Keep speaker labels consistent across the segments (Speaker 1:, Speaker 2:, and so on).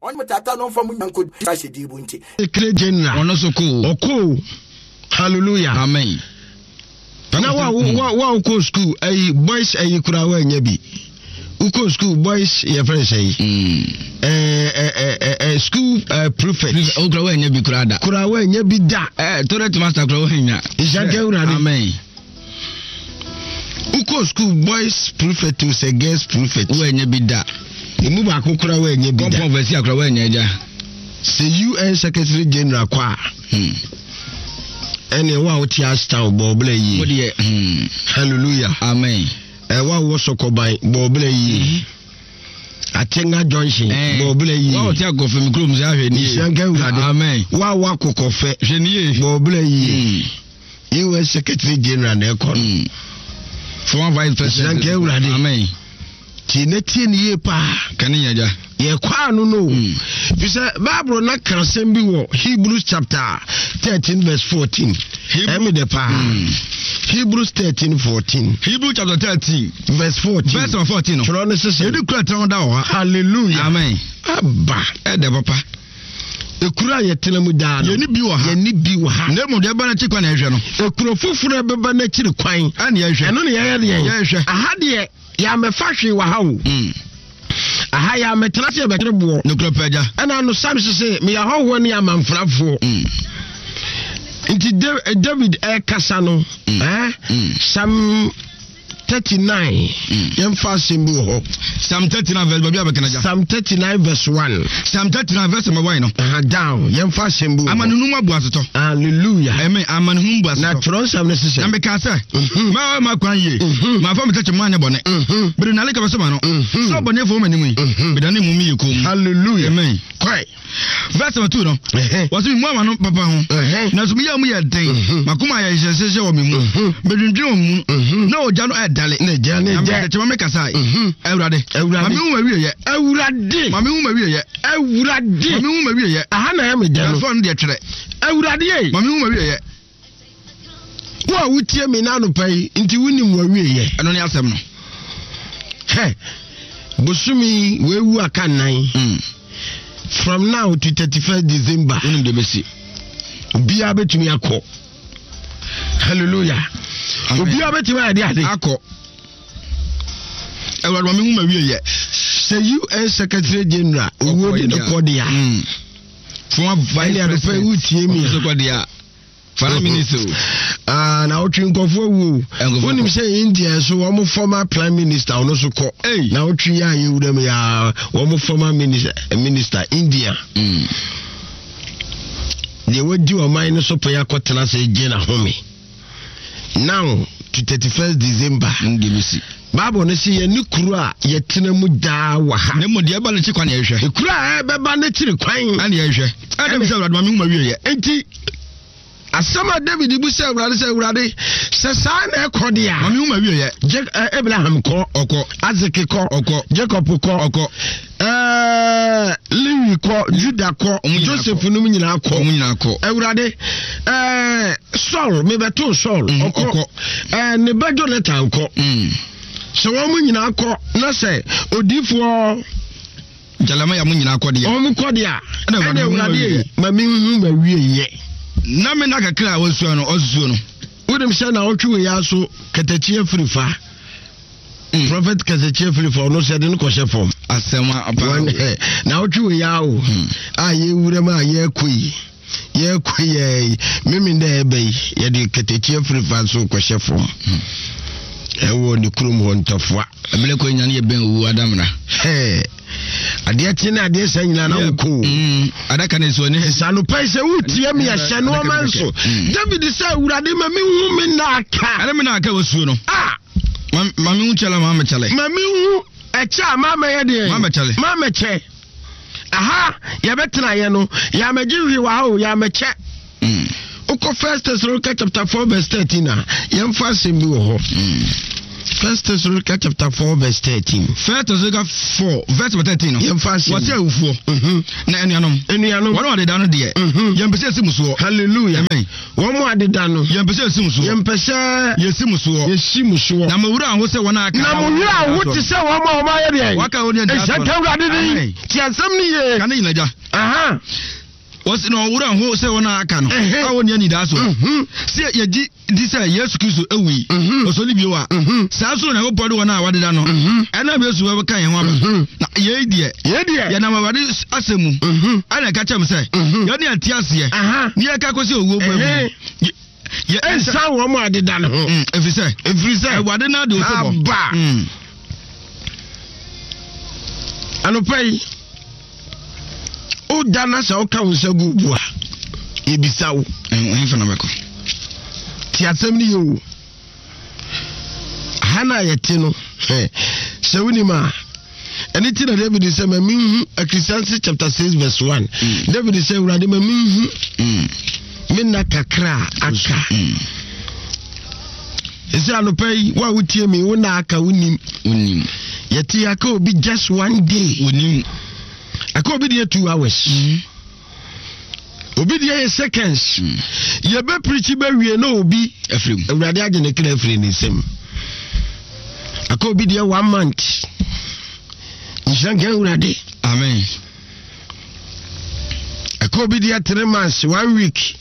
Speaker 1: Ɔne mo tata no mfa mo nya nkɔdi ahyɛdeɛ bu nti.
Speaker 2: Secretary General.
Speaker 3: Ɔno nso kɔ o.
Speaker 2: Ɔkɔ o. Hallelujah.
Speaker 3: Amen.
Speaker 2: Na wa wa wa wokɔ school ayi boys ayi koraa woanya bi. Wokɔ school boys yɛ fɛn sɛ yi. Ɛɛ ɛɛ ɛɛ school ɛɛ prefect.
Speaker 3: O koraa woanya bi koraa da.
Speaker 2: Koraa woanya bi da.
Speaker 3: Ɛɛ toilet master koraa woanya.
Speaker 2: Nhyɛ Awurade.
Speaker 3: Amen.
Speaker 2: Wokɔ school boys prefect o sɛ girls prefect.
Speaker 3: Woanya bi da.
Speaker 2: Emu baako koraa woanya bi da.
Speaker 3: Kɔmpɔn vɛsi akora woanya agya.
Speaker 2: Sɛ UN secretary general kɔ a. Ɛne wo a wote Ashtown bɔ ɔbla yie.
Speaker 3: Wo deɛ.
Speaker 2: Hallelujah.
Speaker 3: Amen.
Speaker 2: Ɛwɔ a wowɔ Sɔkɔban bɔ ɔbla yie. Atenga junction
Speaker 3: Eh.
Speaker 2: bɔ ɔbla yie.
Speaker 3: Wo a wote akɔfɛ mi kurom sɛ ahwɛ nie.
Speaker 2: Nhyira nka Awurade.
Speaker 3: Amen.
Speaker 2: Wo a wowɔ akokɔfɛ
Speaker 3: Hwɛ nie.
Speaker 2: bɔ ɔbla yie. US secretary general na ɛkɔ no.
Speaker 3: Former vice president.
Speaker 2: Nhyira nka Awurade.
Speaker 3: Amen.
Speaker 2: Tie na tie ne yie paa.
Speaker 3: Kane yɛn agya.
Speaker 2: Yɛkɔ ano no. Fi sɛ Bible na ka asɛm bi wɔ Hebrews chapter 13 verse 14. Ɛmi dɛ paa. Hebrews 13 14.
Speaker 3: Hebrews chapter 13
Speaker 2: verse 14.
Speaker 3: Verse 14 no.
Speaker 2: Twerɛ no sese.
Speaker 3: Yɛde kura tɛn da wɔ ha.
Speaker 2: Hallelujah.
Speaker 3: Amen.
Speaker 2: Aba.
Speaker 3: Ɛdɛ papa.
Speaker 2: Ekuro a yɛtena mu daa no.
Speaker 3: Yɛne bi wɔ ha.
Speaker 2: Yɛne bi wɔ ha.
Speaker 3: Na mmom deɛ ɛba n'akyi kwan na yɛhwɛ no.
Speaker 2: Ekuro foforɔ a ɛbɛba n'akyiri kwan.
Speaker 3: Ɛna yɛhwɛ.
Speaker 2: Ɛno na yɛyɛ deɛ.
Speaker 3: Yɛhwɛ.
Speaker 2: Aha deɛ yɛamɛfa hwee wɔ ha o. Aha yɛamɛtena sɛ yɛbɛkyere boɔ.
Speaker 3: Nokorɛ pɛ agya.
Speaker 2: Ɛna ano sam sese meyɛ ahɔhoɔ ne amanfrafoɔ. Nti David ɛkasa no. Sam 39 yɛmfa asɛm bi wɔ hɔ.
Speaker 3: Psalm 39 verse baabi a bɛkana gya.
Speaker 2: Psalm 39 verse 1.
Speaker 3: Psalm 39 verse number 1 no.
Speaker 2: Down yɛmfa asɛm bi wɔ hɔ.
Speaker 3: Amanehunu mu abu asetɔ.
Speaker 2: Hallelujah.
Speaker 3: Amen. Amanehunu mu bu asetɔ.
Speaker 2: Na twerɛ nsɛm no sisɛ.
Speaker 3: Na meka sɛ. Mɛwɔ ma kwan yie. Mafa me tɛkyɛ mu anyɛ bɔne. Mede nale kaba sɛ ma no. Sɛ ɔbɔnefoɔ wɔ m'anim yi. Medane mu meyɛ komm.
Speaker 2: Hallelujah.
Speaker 3: Amen.
Speaker 2: Kwae.
Speaker 3: Verse number 2 no. Wɔsi mi mu ama no papa ho. Nanso mi yɛ mu yɛ den. Makoma ayɛ nhyehyɛhyɛ wɔ mi mu. Medwendwen wɔ mu. Na ogya no ɛdale.
Speaker 2: Na ogya no
Speaker 3: Na
Speaker 2: ɛdɛ.
Speaker 3: mede kyɛma me kasae. Awurade.
Speaker 2: Awurade.
Speaker 3: Ma me hu m'awieɛ.
Speaker 2: Awurade.
Speaker 3: Ma me hu m'awieɛ.
Speaker 2: Awurade.
Speaker 3: Ma me hu m'awieɛ.
Speaker 2: Aha na ɛyɛ me dɛ no.
Speaker 3: Nanso ɔno deɛ twerɛ.
Speaker 2: Awurade ei.
Speaker 3: Ma me hu m'awieɛ.
Speaker 2: Wo a wotie me na anɔpa yi nti wonim w'awieɛ.
Speaker 3: Ɛno ne asɛm no.
Speaker 2: Hɛ, bosome wewu aka nnan. From now to 31st December.
Speaker 3: Wonim deɛ bɛsi.
Speaker 2: Obiara bɛtumi akɔ. Hallelujah. Obiara bɛtumi ayɛ de ade.
Speaker 3: Akɔ. Awurade ma me hu m'awieɛ.
Speaker 2: Sɛ UN Secretary General owuo de ne kɔ deɛ a.
Speaker 3: Former vice
Speaker 2: Ɛne anɔpa yi
Speaker 3: president.
Speaker 2: wotie me a.
Speaker 3: Ɔno nso kɔ deɛ a. Fana minister o.
Speaker 2: Ah, na wotwe nkɔfoɔ awu o. Wonim sɛ India nso wɔn former prime minister ɔno nso kɔ. Na wotwe yɛ a yɛwura mu yɛ wɔn former minister, minister India. Deɛ wadi ɔman no so pɛn akɔtena sɛ gye n'ahome. Now to 31st December. Bible no sɛ yɛne kuro a yɛtena mu daa wɔ ha.
Speaker 3: Na mmom deɛ ɛba n'akyi kwan na yɛhwɛ.
Speaker 2: Kuro a ɛbɛba n'akyiri kwan.
Speaker 3: Ɛna yɛhwɛ. Ɛna bisa Awurade ma me hu ma wie yɛ.
Speaker 2: Enti asɛm a David bu sɛ Awurade sɛ Awurade sɛ saa na ɛkɔ deɛ a.
Speaker 3: Ma me hu ma wie yɛ.
Speaker 2: Abraham kɔ.
Speaker 3: Ɔkɔ.
Speaker 2: Isaac kɔ.
Speaker 3: Ɔkɔ.
Speaker 2: Jacob kɔ.
Speaker 3: Ɔkɔ.
Speaker 2: Lewi kɔ. Judah kɔ. Joseph nom nyinaa kɔ.
Speaker 3: Ɔmo nyinaa kɔ.
Speaker 2: Awurade Saul mebɛto Saul. Ɔkɔ. Ne ba Jonathan kɔ. Sɛ wɔn mo nyinaa kɔ na sɛ odiifoɔ
Speaker 3: Jeremiah mo nyinaa kɔ deɛ.
Speaker 2: Wɔn kɔ deɛ a. Ɛna Awurade ma me hu ma wie yɛ.
Speaker 3: Na me na kakra a wɔsua no ɔsusuo no.
Speaker 2: Wonim sɛ na ɔtwe wei aso katakyi afiri fa. Prophet katakyi afiri fa ɔno sɛ de no kɔhyɛ fam.
Speaker 3: Asɛm apa.
Speaker 2: Na ɔtwe wei awo a yɛwura mu a yɛkɔ yi. Yɛkɔ yɛ yi meme dɛ ɛbɛ yi yɛde katakyi afiri fa so kɔhyɛ fam. Ɛwɔ ne kurom hɔ Ntafoa.
Speaker 3: Ɛbɛlɛ kɔ nyina ne yɛ bɛn owu adamena.
Speaker 2: Hɛɛ. Adeɛ kye ne adeɛ sɛ nyina na wokɔ o.
Speaker 3: Adaka ne so ne.
Speaker 2: Sɛ anɔpa yi sɛ wotie me ɛhyɛ nneɛma nso. David sɛ Awurade ma mehu me nna aka.
Speaker 3: Ɛne me nna aka wɔ suo no.
Speaker 2: Ah.
Speaker 3: Ma mehu kyɛlɛ ma mɛkyɛlɛ.
Speaker 2: Ma mehu ɛkyɛ a ma mɛyɛ deɛ.
Speaker 3: Ma mɛkyɛlɛ.
Speaker 2: Ma mɛkyɛ. Aha yɛbɛtena yɛ no yɛamɛgye hwee wɔ ha o yɛamɛkyɛ. Wokɔ First Thessalonica chapter 4 verse 13 a yɛmfa asɛm bi wɔ hɔ. First Thessalonica chapter 4 verse 13.
Speaker 3: First Thessalonica 4 verse 13 no.
Speaker 2: Yɛmfa asɛm.
Speaker 3: Wɔte awufoɔ.
Speaker 2: Mhm.
Speaker 3: Na anuanom.
Speaker 2: Anuanom.
Speaker 3: Wɔn a wɔdeda no deɛ.
Speaker 2: Mhm.
Speaker 3: Yɛmpɛ sɛ yɛsi mu soɔ.
Speaker 2: Hallelujah.
Speaker 3: Amen.
Speaker 2: Wɔn a adeda no.
Speaker 3: Yɛmpɛ sɛ yɛsi mu soɔ.
Speaker 2: Yɛmpɛ sɛ.
Speaker 3: Yɛsi mu soɔ.
Speaker 2: Yɛsi mu soɔ.
Speaker 3: Na mo werɛ aho sɛ wɔn a aka.
Speaker 2: Na mo werɛ aho te sɛ wɔn a wɔn ayɛ deɛ.
Speaker 3: Wɔaka wɔn ani
Speaker 2: Ɛhyɛ
Speaker 3: soɔ.
Speaker 2: nka Awurade din.
Speaker 3: Amen.
Speaker 2: Te asɛm no yie.
Speaker 3: Ka ne nyina gya.
Speaker 2: Aha.
Speaker 3: Wɔsi na ɔwerɛ aho sɛ wɔn a aka no.
Speaker 2: Ɛhɛ.
Speaker 3: A wɔnni anidasoɔ.
Speaker 2: Mhm.
Speaker 3: Sɛ yɛgye di sɛ Yesu Kristo wui, ɔsɔre bio a, saa nso na Onyankopɔn de wɔn a wɔadeda no, ɛnam Yesu bɛka yɛn ho aba. Na yei deɛ,
Speaker 2: yei deɛ,
Speaker 3: yɛnam Awurade asɛm mu, ɛna ɛka kyerɛ m sɛ, yɛne ɛte aseɛ, ne yɛka kɔsi owuo mu amu.
Speaker 2: Ɛnsa wɔn a adeda no ho.
Speaker 3: Ɛfiri sɛ,
Speaker 2: ɛfiri sɛ,
Speaker 3: Awurade no ade osebɔ.
Speaker 2: Aba. Anɔpa yi, woda na sɛ woka wo nsa gu bo a yɛbisa wo
Speaker 3: ɛmfa na bɛkɔ
Speaker 2: te asɛm no yɛ o ha no a yɛte no sɛ wonim a ɛne ti na david sɛ ma menhu Ecclesiastes chapter 6 verse 1 mm. David sɛ awurade ma menhu mm. me nna kakra a aka mm. ɛsɛ anɔpa yi wo a wotie me wo na aka wonim
Speaker 3: wonim
Speaker 2: yɛte aka obi just one day
Speaker 3: wonim
Speaker 2: aka obi deɛ 2 hours obi deɛ yɛ seconds yɛbɛ pirikyi bɛwie na obi
Speaker 3: afiri mu
Speaker 2: awurade agye ne kra afiri ne nsam aka obi deɛ one month nhyira nka awurade
Speaker 3: amen
Speaker 2: aka obi deɛ 3 months, one week.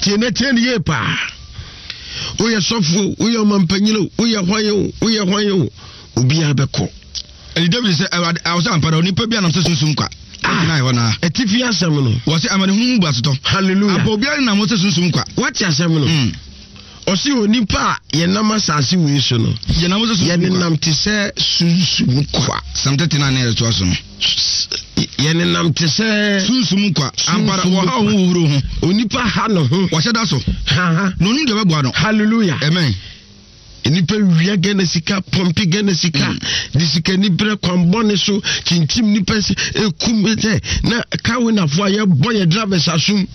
Speaker 2: Tie na tie ne yie paa. Woyɛ sɔfo, woyɛ ɔmampanyini o, woyɛ hwan o, woyɛ hwan o, obiara bɛkɔ.
Speaker 3: Ɛnti David sɛ, Awurade, awɔ sɛ ampa dɛ onipa bi anam sɛ sunsum kwa.
Speaker 2: Ah,
Speaker 3: Gyina hɔ naa.
Speaker 2: Atifi asɛm no.
Speaker 3: Wɔ sɛ amanehunu mu bu asetɔ.
Speaker 2: Hallelujah.
Speaker 3: Ampa obiara nenam hɔ sɛ sunsum kwa.
Speaker 2: Wate asɛm no? Ɔse onipa a yɛnam asase wei so no,
Speaker 3: Yɛnam sɛ sunsum kwa.
Speaker 2: Yɛnenam te sɛ sunsum kwa.
Speaker 3: Psalm 39 na yɛtoa so no.
Speaker 2: Yɛnenam te sɛ
Speaker 3: sunsum kwa. Ampa dɛ wɔha wɔn wɔ ho.
Speaker 2: Onipa ha ne ho.
Speaker 3: Wɔhyɛ da so.
Speaker 2: Ha ha.
Speaker 3: Na onim deɛ ɔbɛboa no.
Speaker 2: Hallelujah.
Speaker 3: Amen.
Speaker 2: Nnipa wia Ghana sika, pɔmpe Ghana sika, de sika ni brɛ kwan bɔne so, kyinkyim nipa sɛ ekum sɛ na kawinafo a yɛbɔ yɛ drivers asom,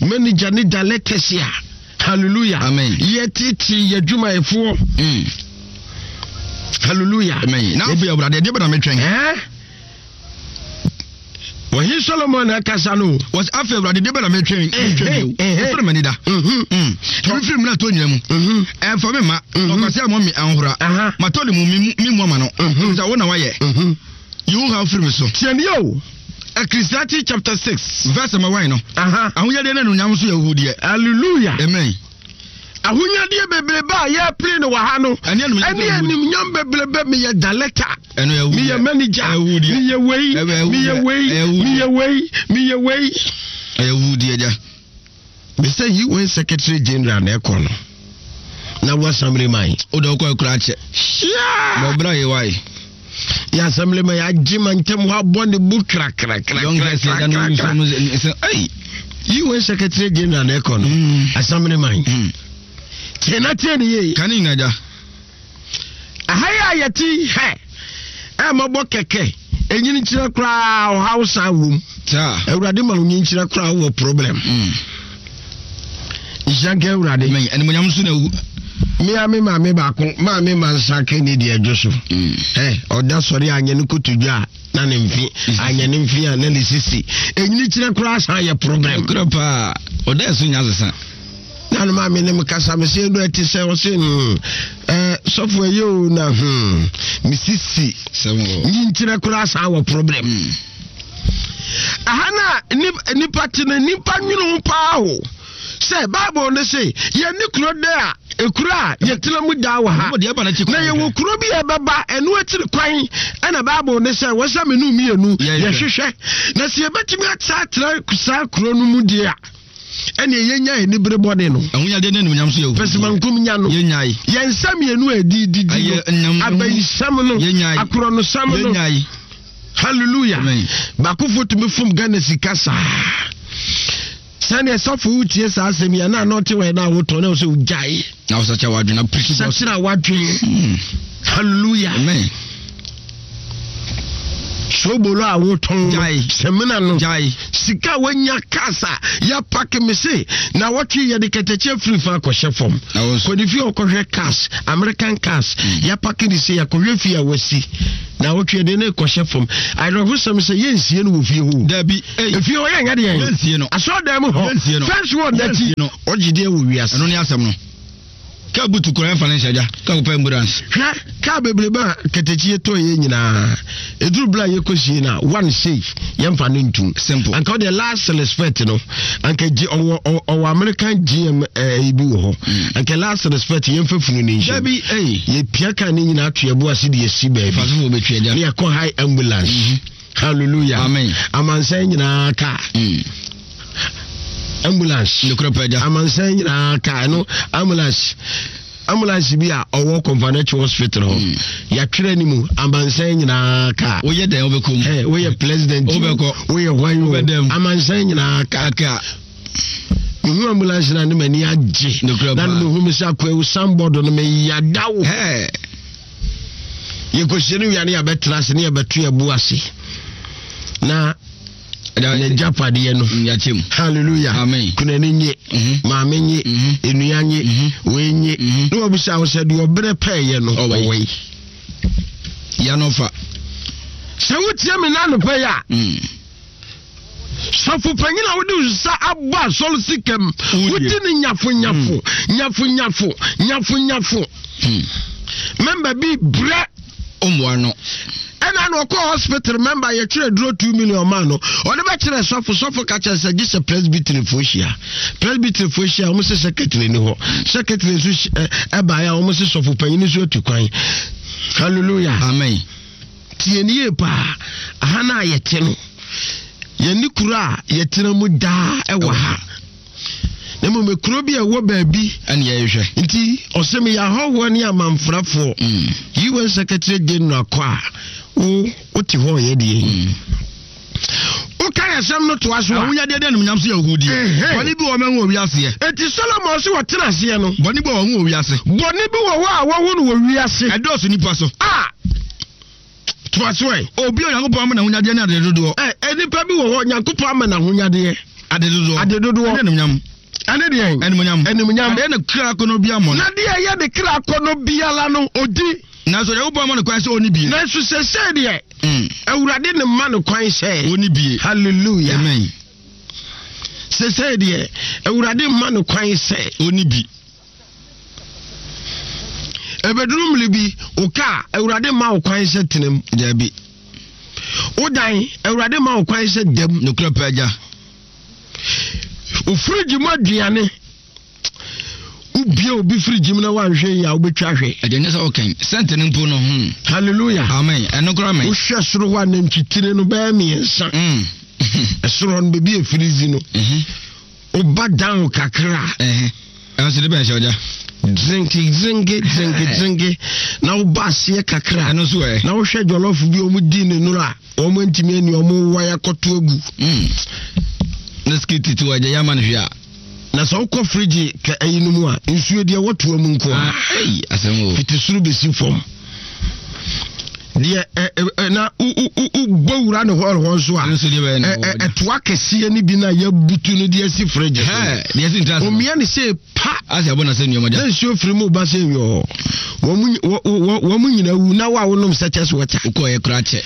Speaker 2: manager ne directors a, hallelujah.
Speaker 3: Amen.
Speaker 2: Yɛtete yɛ adwumayɛfoɔ. Hallelujah.
Speaker 3: Amen. Na afei Awurade, ɛdeɛ bɛ na metwɛn?
Speaker 2: Eh? Wɔhe Solomon na ɛkasa no.
Speaker 3: Wɔsi afei Awurade deɛ bɛ na metwɛn metwɛn bio. Ɛfiri m'ani da. Ebi firi mu na to nyina mu. Ɛnfa mi ma. Ɔkwasi a mɔ mi ahohora. Matɔ ne mu mi mu ama no. Sɛ wo na wayɛ. Yi wo haw firi mi so.
Speaker 2: Tiɛ ni o. Ecclesiastes chapter 6.
Speaker 3: Verse number 1 no. Ahonyadeɛ ne anuonyam nso yɛ ahuhudeɛ.
Speaker 2: Hallelujah.
Speaker 3: Amen.
Speaker 2: Ahonyadeɛ bebrebe a yɛpere no wɔ ha no,
Speaker 3: ɛne
Speaker 2: animuonyam bebrebe. Meyɛ director,
Speaker 3: Ɛno yɛ
Speaker 2: meyɛ manager,
Speaker 3: Ɛwudeɛ.
Speaker 2: meyɛ wei,
Speaker 3: Ɛwudeɛ.
Speaker 2: meyɛ wei,
Speaker 3: Ɛwudeɛ.
Speaker 2: meyɛ wei, meyɛ wei.
Speaker 3: Ɛyɛ wudeɛ gya.
Speaker 2: Mesɛ UN Secretary General na ɛkɔ no na wo assembly man.
Speaker 3: O de ɔkɔ ɛkura akyɛ.
Speaker 2: Hyia.
Speaker 3: Bɔbra yɛ wae.
Speaker 2: Yɛ assembly man yɛagye ma ntɛm hɔ abɔ ne bu
Speaker 3: Young girls yɛ dan
Speaker 2: krakrakrakrakra.
Speaker 3: no sɛ ɛyi.
Speaker 2: UN Secretary General na ɛkɔ no assembly man. Tie na tie ne yie.
Speaker 3: Ka ne nyina gya.
Speaker 2: Aha yi a yɛte hɛ ɛmɔbɔ kɛkɛ ɛnyini nkyerɛ koraa ɔhaw san wom.
Speaker 3: Saa.
Speaker 2: Awurade ma onyi nkyerɛ koraa wɔ problem. Nhyira nka Awurade.
Speaker 3: Amen. Animuonyam nso na ewu.
Speaker 2: Mea me maame baako maame ma nsa ka ne deɛ adwo so. Ɛ ɔda sɔre anyɛ ne kotodwe a na ne mfe anyɛ ne mfe a na ne sisi. Ɛnyini kyerɛ koraa san yɛ problem.
Speaker 3: Kura paa. Ɔda ɛso nya sesa.
Speaker 2: Na ne maame ne me kasa me sɛ ɛdu ɛte sɛ ɔse ɛɛ sɔfo ɛyɛ o na me sisi.
Speaker 3: Sɛm wɔ.
Speaker 2: Nyi nkyerɛ koraa san wɔ problem. Aha na nipa te no nipa nwene ho paa o sɛ Bible no se yɛne kuro dɛ a ekuro a yɛtena mu daa wɔ ha
Speaker 3: Ɔmo deɛ ɛba n'akyi
Speaker 2: na
Speaker 3: kwan
Speaker 2: yɛwɔ
Speaker 3: hwɛ.
Speaker 2: kuro bi a ɛbɛba ɛno akyiri kwan ɛna Bible no sɛ wɔsɛ me no mmienu
Speaker 3: Yɛhwɛ.
Speaker 2: yɛhwehwɛ na sɛ yɛbɛtumi atra saa kuro no mu deɛ a ɛne yɛnya anibere bɔne no.
Speaker 3: Ahonyadeɛ ne animuonyam nso yɛ ahuhudeɛ.
Speaker 2: Pɛsɛmankom nya no.
Speaker 3: Yɛnyae.
Speaker 2: Yɛn nsa mmienu a ɛdi didi no.
Speaker 3: Ɛyɛ nam no ho.
Speaker 2: Abayisɛm no.
Speaker 3: Yɛnyae.
Speaker 2: Akorɔnosɛm no.
Speaker 3: Yɛnyae.
Speaker 2: Hallelujah.
Speaker 3: Amen.
Speaker 2: Baakofo tumi fom Ghana sika saa. Sɛdeɛ sɔfo wotie saa asɛm yi a na anɔte wɔ na wotɔ na sɛ wogyae.
Speaker 3: Na wosakyɛ w'adwene na preach gospel.
Speaker 2: Sakyera w'adwene. Hallelujah.
Speaker 3: Amen.
Speaker 2: Sobolo a wotɔn no, sɛmina no, sika a wanya cars a yɛapake me se na wɔtwe yɛde kɛtɛkye afiri fa akɔhyɛ fam. Kɔde fie ɔkɔhwɛ cars, American cars, hmm. yɛapake de se yɛakɔhwɛ fie a wasi na wɔtwe yɛde ne kɔhyɛ fam. Awerɛhosɛm sɛ yɛnsie no wɔ fie hɔ.
Speaker 3: Dabi.
Speaker 2: Efie hɔ yɛnyɛ deɛ.
Speaker 3: Yɛnsie no.
Speaker 2: Asɔɔdan mu hɔ. Fɛnsi wɔ n'akyi. Ɔgye deɛ wɔ wiase.
Speaker 3: Ɛno ne asɛm no. Kaa butu koraa ɛmfa no nhyɛ gya. Kaa kɔpɛ ambulance.
Speaker 2: Hwɛ kaa bebrebe a kɛtɛkyi tɔ yɛ nyinaa. Ɛduru berɛ a yɛkɔsie no a one sei yɛmfa no ntum.
Speaker 3: Simple.
Speaker 2: Anka ɔdeɛ last respect no anka gye ɔwɔ ɔwɔ American GM ɛɛ eh, bi wɔ hɔ. Mm. Anka last respect yɛmfa funu ne nhyɛ.
Speaker 3: Dabi ɛyi.
Speaker 2: Yɛpia kaa ne nyinaa to yɛbo ase de yɛsi baabi.
Speaker 3: Fasofo bɛtwi agya.
Speaker 2: Ne yɛkɔ high ambulance. Mm -hmm. Hallelujah.
Speaker 3: Amen.
Speaker 2: Amansan nyinaa kaa.
Speaker 3: Mm.
Speaker 2: Ambulance.
Speaker 3: Nokorɛ pɛ agya.
Speaker 2: Amansan nyinaa kaa ɛno ambulance ambulance bi a ɔwɔ Kɔnfanɛkyi hospital hɔ. Mm. Yɛatwerɛ ne mu amansan nyinaa kaa.
Speaker 3: Woyɛ dɛn wobɛkɔ mu?
Speaker 2: Hey, woyɛ president.
Speaker 3: Wobɛkɔ.
Speaker 2: Woyɛ hwan o.
Speaker 3: Wobɛdɛm.
Speaker 2: Amansan nyinaa kaa.
Speaker 3: Kaa.
Speaker 2: Mehu ambulance na ne m'ani agye.
Speaker 3: Nokorɛ
Speaker 2: paa. Na mehu me sɛ akwawu sanbɔdo no meyada wo.
Speaker 3: Hey.
Speaker 2: Yɛkɔhyia no wia ne yɛabɛtena ase ne yɛbɛto yɛbo ase na n'agyapadeɛ no
Speaker 3: mm,
Speaker 2: hallelujah
Speaker 3: amen
Speaker 2: kunani nye mhm. maame nye mhm. nnua nye mhm. wei nye ne wabisa wo sɛ deɛ ɔberɛ pɛɛyɛ no ɔwɔ yi
Speaker 3: yɛnɔfa
Speaker 2: sɛ wotie me na anɔpɛ yi a
Speaker 3: mm.
Speaker 2: Sɔfo panyin a wode nsa abɔ asɔre sika mu wodi ne nyafonyafo hmm. nyafonyafo nyafonyafo hmm. mɛmba bi brɛ
Speaker 3: ɔmmoa no
Speaker 2: ɛna na ɔkɔ hospital mɛmba yɛtwerɛ duro 2 million maa no ɔde bɛkyerɛ sɔfo sɔfo ka kyerɛ sɛ gye sɛ presbyteryfoɔ hyia presbyteryfoɔ hyia wɔn sɛ secretary ni hɔ secretary nso ɛbaeɛ a wɔn sɛ sɔfo panyin nso atu kwan hallelujah
Speaker 3: amen
Speaker 2: Tie no yie paa. Aha no a yɛte no, yɛne kuro a yɛtena mu daa ɛwɔ ha. Na mmom kuro bi a ɛwɔ baabi.
Speaker 3: Ɛne yɛhwɛ.
Speaker 2: Nti ɔsɛ meyɛ ahɔhoɔ ne amanfrafoɔ.
Speaker 3: Mm.
Speaker 2: UN Secretary General kɔ a, wo wote hɔ yɛ deɛ.
Speaker 3: Mm.
Speaker 2: Woka asɛm no toa so a.
Speaker 3: Ahonyadeɛ de animuonyam so yɛ ahuhudeɛ. Bɔne bi wɔ hɔ mahu wɔ wiaseɛ.
Speaker 2: Enti Solomon se wɔtena aseɛ no.
Speaker 3: Bɔne bi wɔ hɔ wɔhu wɔ wiase.
Speaker 2: Bɔne bi wɔ hɔ a wɔhu no wɔ wiase.
Speaker 3: Ɛdɔɔso nnipa so.
Speaker 2: A Toa so ɛ.
Speaker 3: Obi a Onyankopɔn ama no ahonyadeɛ ne adedodoɔ.
Speaker 2: Ɛ Nnipa bi wɔ hɔ Onyankopɔn ama no ahonyadeɛ.
Speaker 3: Adedodoɔ.
Speaker 2: Adedodoɔ.
Speaker 3: Ɛne animuonyam.
Speaker 2: Ɛne deɛn?
Speaker 3: Animuonyam.
Speaker 2: Animuonyam.
Speaker 3: Adeɛ ne kra akɔnnɔ biara mmɔ no.
Speaker 2: Na deɛ ɛyɛ ne kra akɔnnɔ biara no, ɔdi.
Speaker 3: Nanso Onyankopɔn ama no kwan sɛ ɔnni bie.
Speaker 2: Nanso seesei deɛ, mm. Awurade ne ma no kwan sɛ.
Speaker 3: Ɔnni bie.
Speaker 2: Hallelujah.
Speaker 3: Amen.
Speaker 2: Seesei deɛ, Awurade ma no kwan sɛ.
Speaker 3: Ɔnni bi.
Speaker 2: Ebeduru mmere bi, wo kaa, Awurade ma wo kwan sɛ tena mu.
Speaker 3: Dabi.
Speaker 2: Wo dan, Awurade ma wo kwan sɛ dam.
Speaker 3: Nokorɛ pɛ agya.
Speaker 2: Wo firigye mu aduane. Wobie obi firigye mu na woanhwɛ yi a wobɛtwa ahwɛ.
Speaker 3: Ɛdeɛ nyɛ sɛ wokɛn sɛnte no mpo no. Hmm.
Speaker 2: Hallelujah.
Speaker 3: Amen. Ɛno koraa mɛ.
Speaker 2: Wohwɛ soro hɔ a nantwitire no bɛyɛ mmiɛnsa.
Speaker 3: Mm.
Speaker 2: Ɛsoro hɔ no baabi a firigye no.
Speaker 3: Mhm.
Speaker 2: Woba down kakra.
Speaker 3: Ɛno nso de bɛn hyɛ ɔgya.
Speaker 2: Drinki drinki drinki drinki na woba aseɛ kakra.
Speaker 3: Ɛno nso ɛ.
Speaker 2: Na wohwɛ jɔlɔfo bi wɔn di ne nora wɔn ntumi ani wɔn wa akɔto agu.
Speaker 3: Mm. Ne skiti ti wɔ agya yɛ ama no hwɛ a.
Speaker 2: Na sɛ wokɔ firigye ka ayi no mu a nsuo deɛ wɔtoa mu nko a.
Speaker 3: Ah, asɛm o.
Speaker 2: Fiti soro bɛsi fam. Deɛ ɛ na wobɔ wura ne hɔl hɔ nso a ɛtoa kɛseɛ no bi no a yɛabutu no de asi fridge
Speaker 3: so
Speaker 2: omia ne sɛ pa na
Speaker 3: nsuo
Speaker 2: firi mu ba sɛ yɔɔ wɔn mu nyina wu na wo a wonom sɛ kyɛ so wɔkyɛ
Speaker 3: wokɔɛ kora kyɛ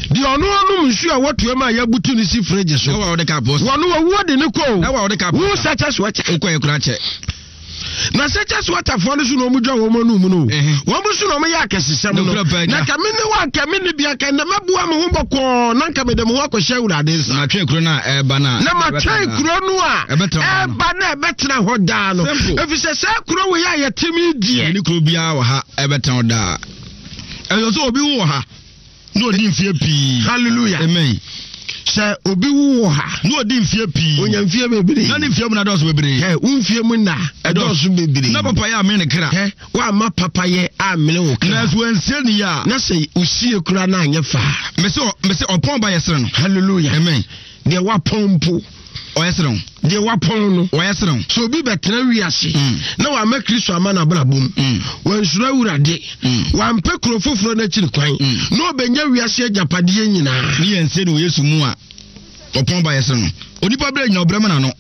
Speaker 2: deɛ ɔno ɔnom nsuo a wɔtoa mu a yɛabutu no si fridge so wɔno wɔwuo de ne kɔ o wo sɛ kyɛ so wɔkyɛ
Speaker 3: wokɔɛ kora kyɛ
Speaker 2: Na sɛkyɛ watafoɔ no so na wɔn dwa wɔn anum no wɔn so na wɔn yɛ akɛsesɛm no na nka me ne wa nka me ne bia nka na mɛboa me ho bɔkɔɔ na nka mede me ho akɔhyɛ awurade nsa.
Speaker 3: Na matwɛn kuro no a ɛreba no a.
Speaker 2: Na matwɛn kuro no a ɛreba na ɛbɛtena hɔ daa no. Efisɛ saa kuro wei a yɛte mu deɛ.
Speaker 3: Ne kuro biara wɔ ha ɛbɛtena hɔ daa. Ɛsɛ sɛ obi wɔ ha. Na ɔdi mfeɛ pii.
Speaker 2: Hallelujah.
Speaker 3: Amen.
Speaker 2: Sɛ obi wu wɔ ha.
Speaker 3: Na ɔdi mfeɛ pii.
Speaker 2: Onya mfeɛ bebree.
Speaker 3: Na ne mfeɛ mu na dɔɔso bebree.
Speaker 2: Hɛ, wo mfeɛ mu na ɛdɔɔso bebree.
Speaker 3: Na papayɛ amene ne kra.
Speaker 2: Hɛ, woamma papayɛ ammene wo kra.
Speaker 3: Nanso wansie ne yie a.
Speaker 2: Na sɛ osie koraa na anyɛ faa.
Speaker 3: Mese mese ɔpɔn ba yɛ sere no.
Speaker 2: Hallelujah.
Speaker 3: Amen.
Speaker 2: Deɛ wapɔn mpo.
Speaker 3: Ɔyɛ sene wo.
Speaker 2: Deɛ wapɔn no.
Speaker 3: Ɔyɛ sene wo.
Speaker 2: Sɛ obi bɛtena wiase mm. na wama Kristo ama n'abrabɔ mu, mm. wansuro Awurade, mm. wampɛ kuro foforɔ no akyiri kwan, na ɔbɛnya wiase agyapadeɛ nyinaa.
Speaker 3: Ne yɛn nse ne wɔ Yesu mu a, ɔpɔn ba yɛ sene no. Onipa berɛ nyina ɔbrɛ ma n'ano.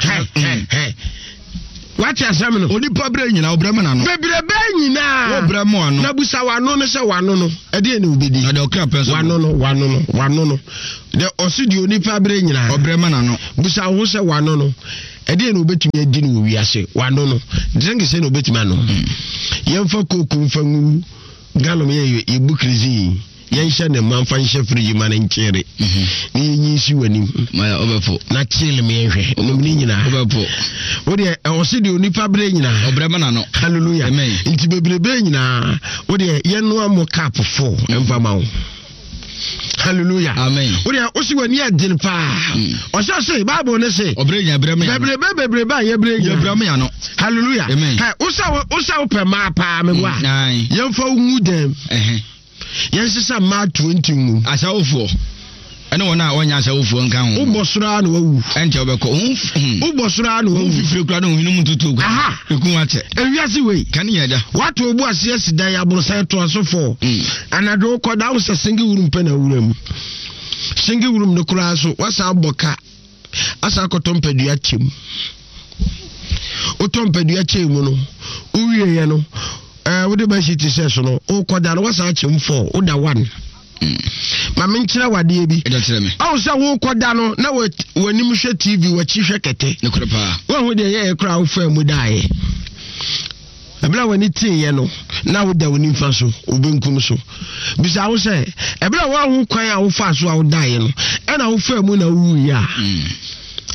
Speaker 2: Wate asɛm no?
Speaker 3: Onipa berɛ nyina ɔbrɛ ma n'ano.
Speaker 2: Bebrebe nyinaa.
Speaker 3: Wɔbrɛ mo ano.
Speaker 2: Na busa w'ano no sɛ w'ano no ɛdeɛ na obɛdi.
Speaker 3: Na deɛ ɔkra pɛ nso.
Speaker 2: W'ano no w'ano no w'ano no. Deɛ ɔsi deɛ onipa berɛ nyinaa.
Speaker 3: Ɔbrɛ ma n'ano.
Speaker 2: Busa wo ho sɛ w'ano no ɛdeɛ na obɛtumi adi no wɔ wiase w'ano no. Drink sɛ na obɛtumi anom. Hmm. Yɛmfa kooko mfa ngu galom yɛ yɛbu kirisi yi. Yɛnhyɛ ne mma mfa nhyɛ fridge ma no nkyere mhm. na yɛnyi nsi w'anim na kyele me yɛnhwɛ nom ne nyinaa wodeɛ ɛwɔ se deɛ onipa berɛ nyinaa
Speaker 3: ɔbrɛ ma nano
Speaker 2: halleluya nti bebrebe nyinaa wodeɛ yɛnoa mo cup fo ɛmfa ma wo hallelujah
Speaker 3: amen
Speaker 2: wodeɛ wosi w'ani adene paa mm. ɔsɛ se bible ne se bebrebe bebrebe a yɛbrɛ
Speaker 3: nyinaa
Speaker 2: hallelujah wosɛ wopɛ maa paa meboa mm, yɛmfa wo ngu dɛm Yɛnsesa mmaa 20 ngu.
Speaker 3: Asawofoɔ ɛne wɔn a wɔnyɛ asawofoɔ nka ho.
Speaker 2: Wobɔ soro ara na wawu.
Speaker 3: Ɛnkyɛ wobɛkɔ.
Speaker 2: Hmm. Wobɔ soro ara na wawu.
Speaker 3: Wo fifire kura ne ohwene mu tutuo kura.
Speaker 2: Aha.
Speaker 3: Eku akyɛ.
Speaker 2: Ewiase wei.
Speaker 3: Kane yɛ agya.
Speaker 2: Wato obu ase asi dan aborosan to aso fɔ. Hmm. Anadwo wokɔ da wo sɛ single room pɛ na awura mu. Single room no koraa so wasa abɔ ka. Asa akɔtɔ mpadua kyɛ mu. Wotɔ mpadua kyɛ mu no, wowieɛ no, ɛɛ wode bɛhye ti sɛ so no, wokɔda no wasan akyɛ mu fɔ, woda one. Ma menkyerɛ wadeɛ bi. Ɔwo sɛ wokɔda no na w'anim hwɛ TV, w'akyi hwɛ kɛtɛ. Woahu deɛ yɛyɛ koraa wofaa mu daeɛ. Ɛberɛ a w'ani teeɛ no, na woda wo nimfa so, wo benkum so. Bisa wo sɛ, ɛberɛ a woahu kwan a wofaa so a wodaeɛ no, ɛna wofaa mu na wowuiɛ a, mm.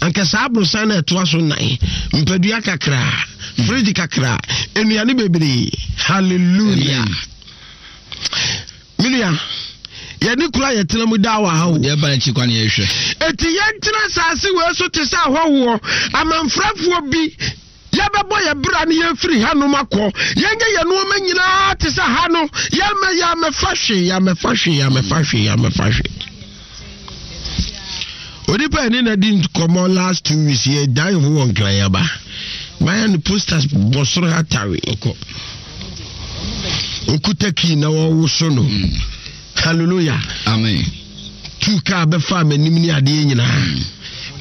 Speaker 2: anka saa aborosan no ɛtoa so nnan, mpadua kakraa, mm. fridge kakraa, nnuane bebree. Hallelujah. Me nua, yɛne kura yɛtena mu daa wɔ ha o.
Speaker 3: Deɛ ɛba n'akyi kwan yɛhwɛ.
Speaker 2: Eti yɛntena saase wei so te sɛ ahɔhoɔ, amanfrafoɔ bi. Yɛbɛbɔ yɛn bra ne yɛafiri hanom akɔ. Yɛnyɛ yɛn nneɛma nyinaa te sɛ ha no. Yɛmmɛ yɛammɛfa hwee, yɛammɛfa hwee, yɛammɛfa hwee, yɛammɛfa hwee. Onipa yɛne na di nkɔmmɔ last 2 weeks yɛ dan ho wɔ nkran aba. Mayɛ no posters bɔ soro ha tawe.
Speaker 3: Ɔkɔ.
Speaker 2: Okuta kii na wɔwoso no. Mm. Hallelujah.
Speaker 3: Amen.
Speaker 2: Tu kaa bɛfaa m'anim ne adeɛ nyinaa. Mm.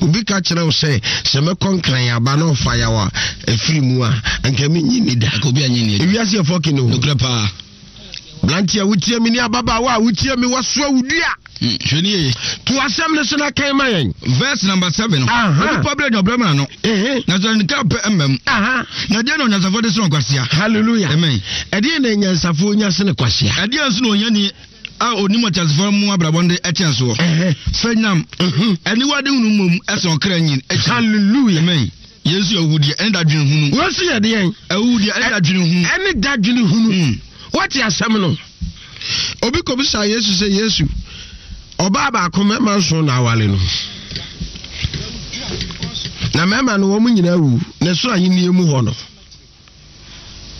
Speaker 2: Obi ka kyerɛ wo sɛ sɛ mɛkɔ nkran aba na ɔfa yaw a ɛfiri mu a anka menyi ni da.
Speaker 3: Obi anyi ni.
Speaker 2: Ewiase yɛ fɔki no.
Speaker 3: Nokorɛ paa.
Speaker 2: Aberanteɛ a wotie me ne ababaawa a wotie me wasoa wo dua.
Speaker 3: Hmm, hwɛ ni yie.
Speaker 2: To asɛm no so na kan ma yɛn.
Speaker 3: Verse number 7. Onipa berɛ nya ɔbrɛ ma no. Na sɛ ne ka pɛ mma mu. Na ɛdeɛ na onyansafoɔ de sene ɔkwasea.
Speaker 2: Hallelujah.
Speaker 3: Amen.
Speaker 2: Ɛdeɛ na anyansafoɔ nya sene kwasea.
Speaker 3: Ɛdeɛ nso na ohiani a onim ɔteasefoɔ mu abrabɔ no de ɛkyɛn soɔ. Sɛ nyam.
Speaker 2: Mhm.
Speaker 3: Aniwa de hunu mmom ɛsɛn ɔkra nyin.
Speaker 2: Hallelujah.
Speaker 3: Amen. Yɛn nso yɛ ahuhudeɛ ɛne dadwene hunu.
Speaker 2: Wɔn nso yɛ deɛn?
Speaker 3: Ahuhudeɛ ɛne dadwene hunu.
Speaker 2: Ɛne dadwene hunu. Hmm. Wɔte asɛm no. Obi kɔbisa Yesu sɛ Yesu, ɔbaa baako mmarima nson na awale no. Na mmarima no wɔn nyinaa wu na soro ahenni mu hɔ no.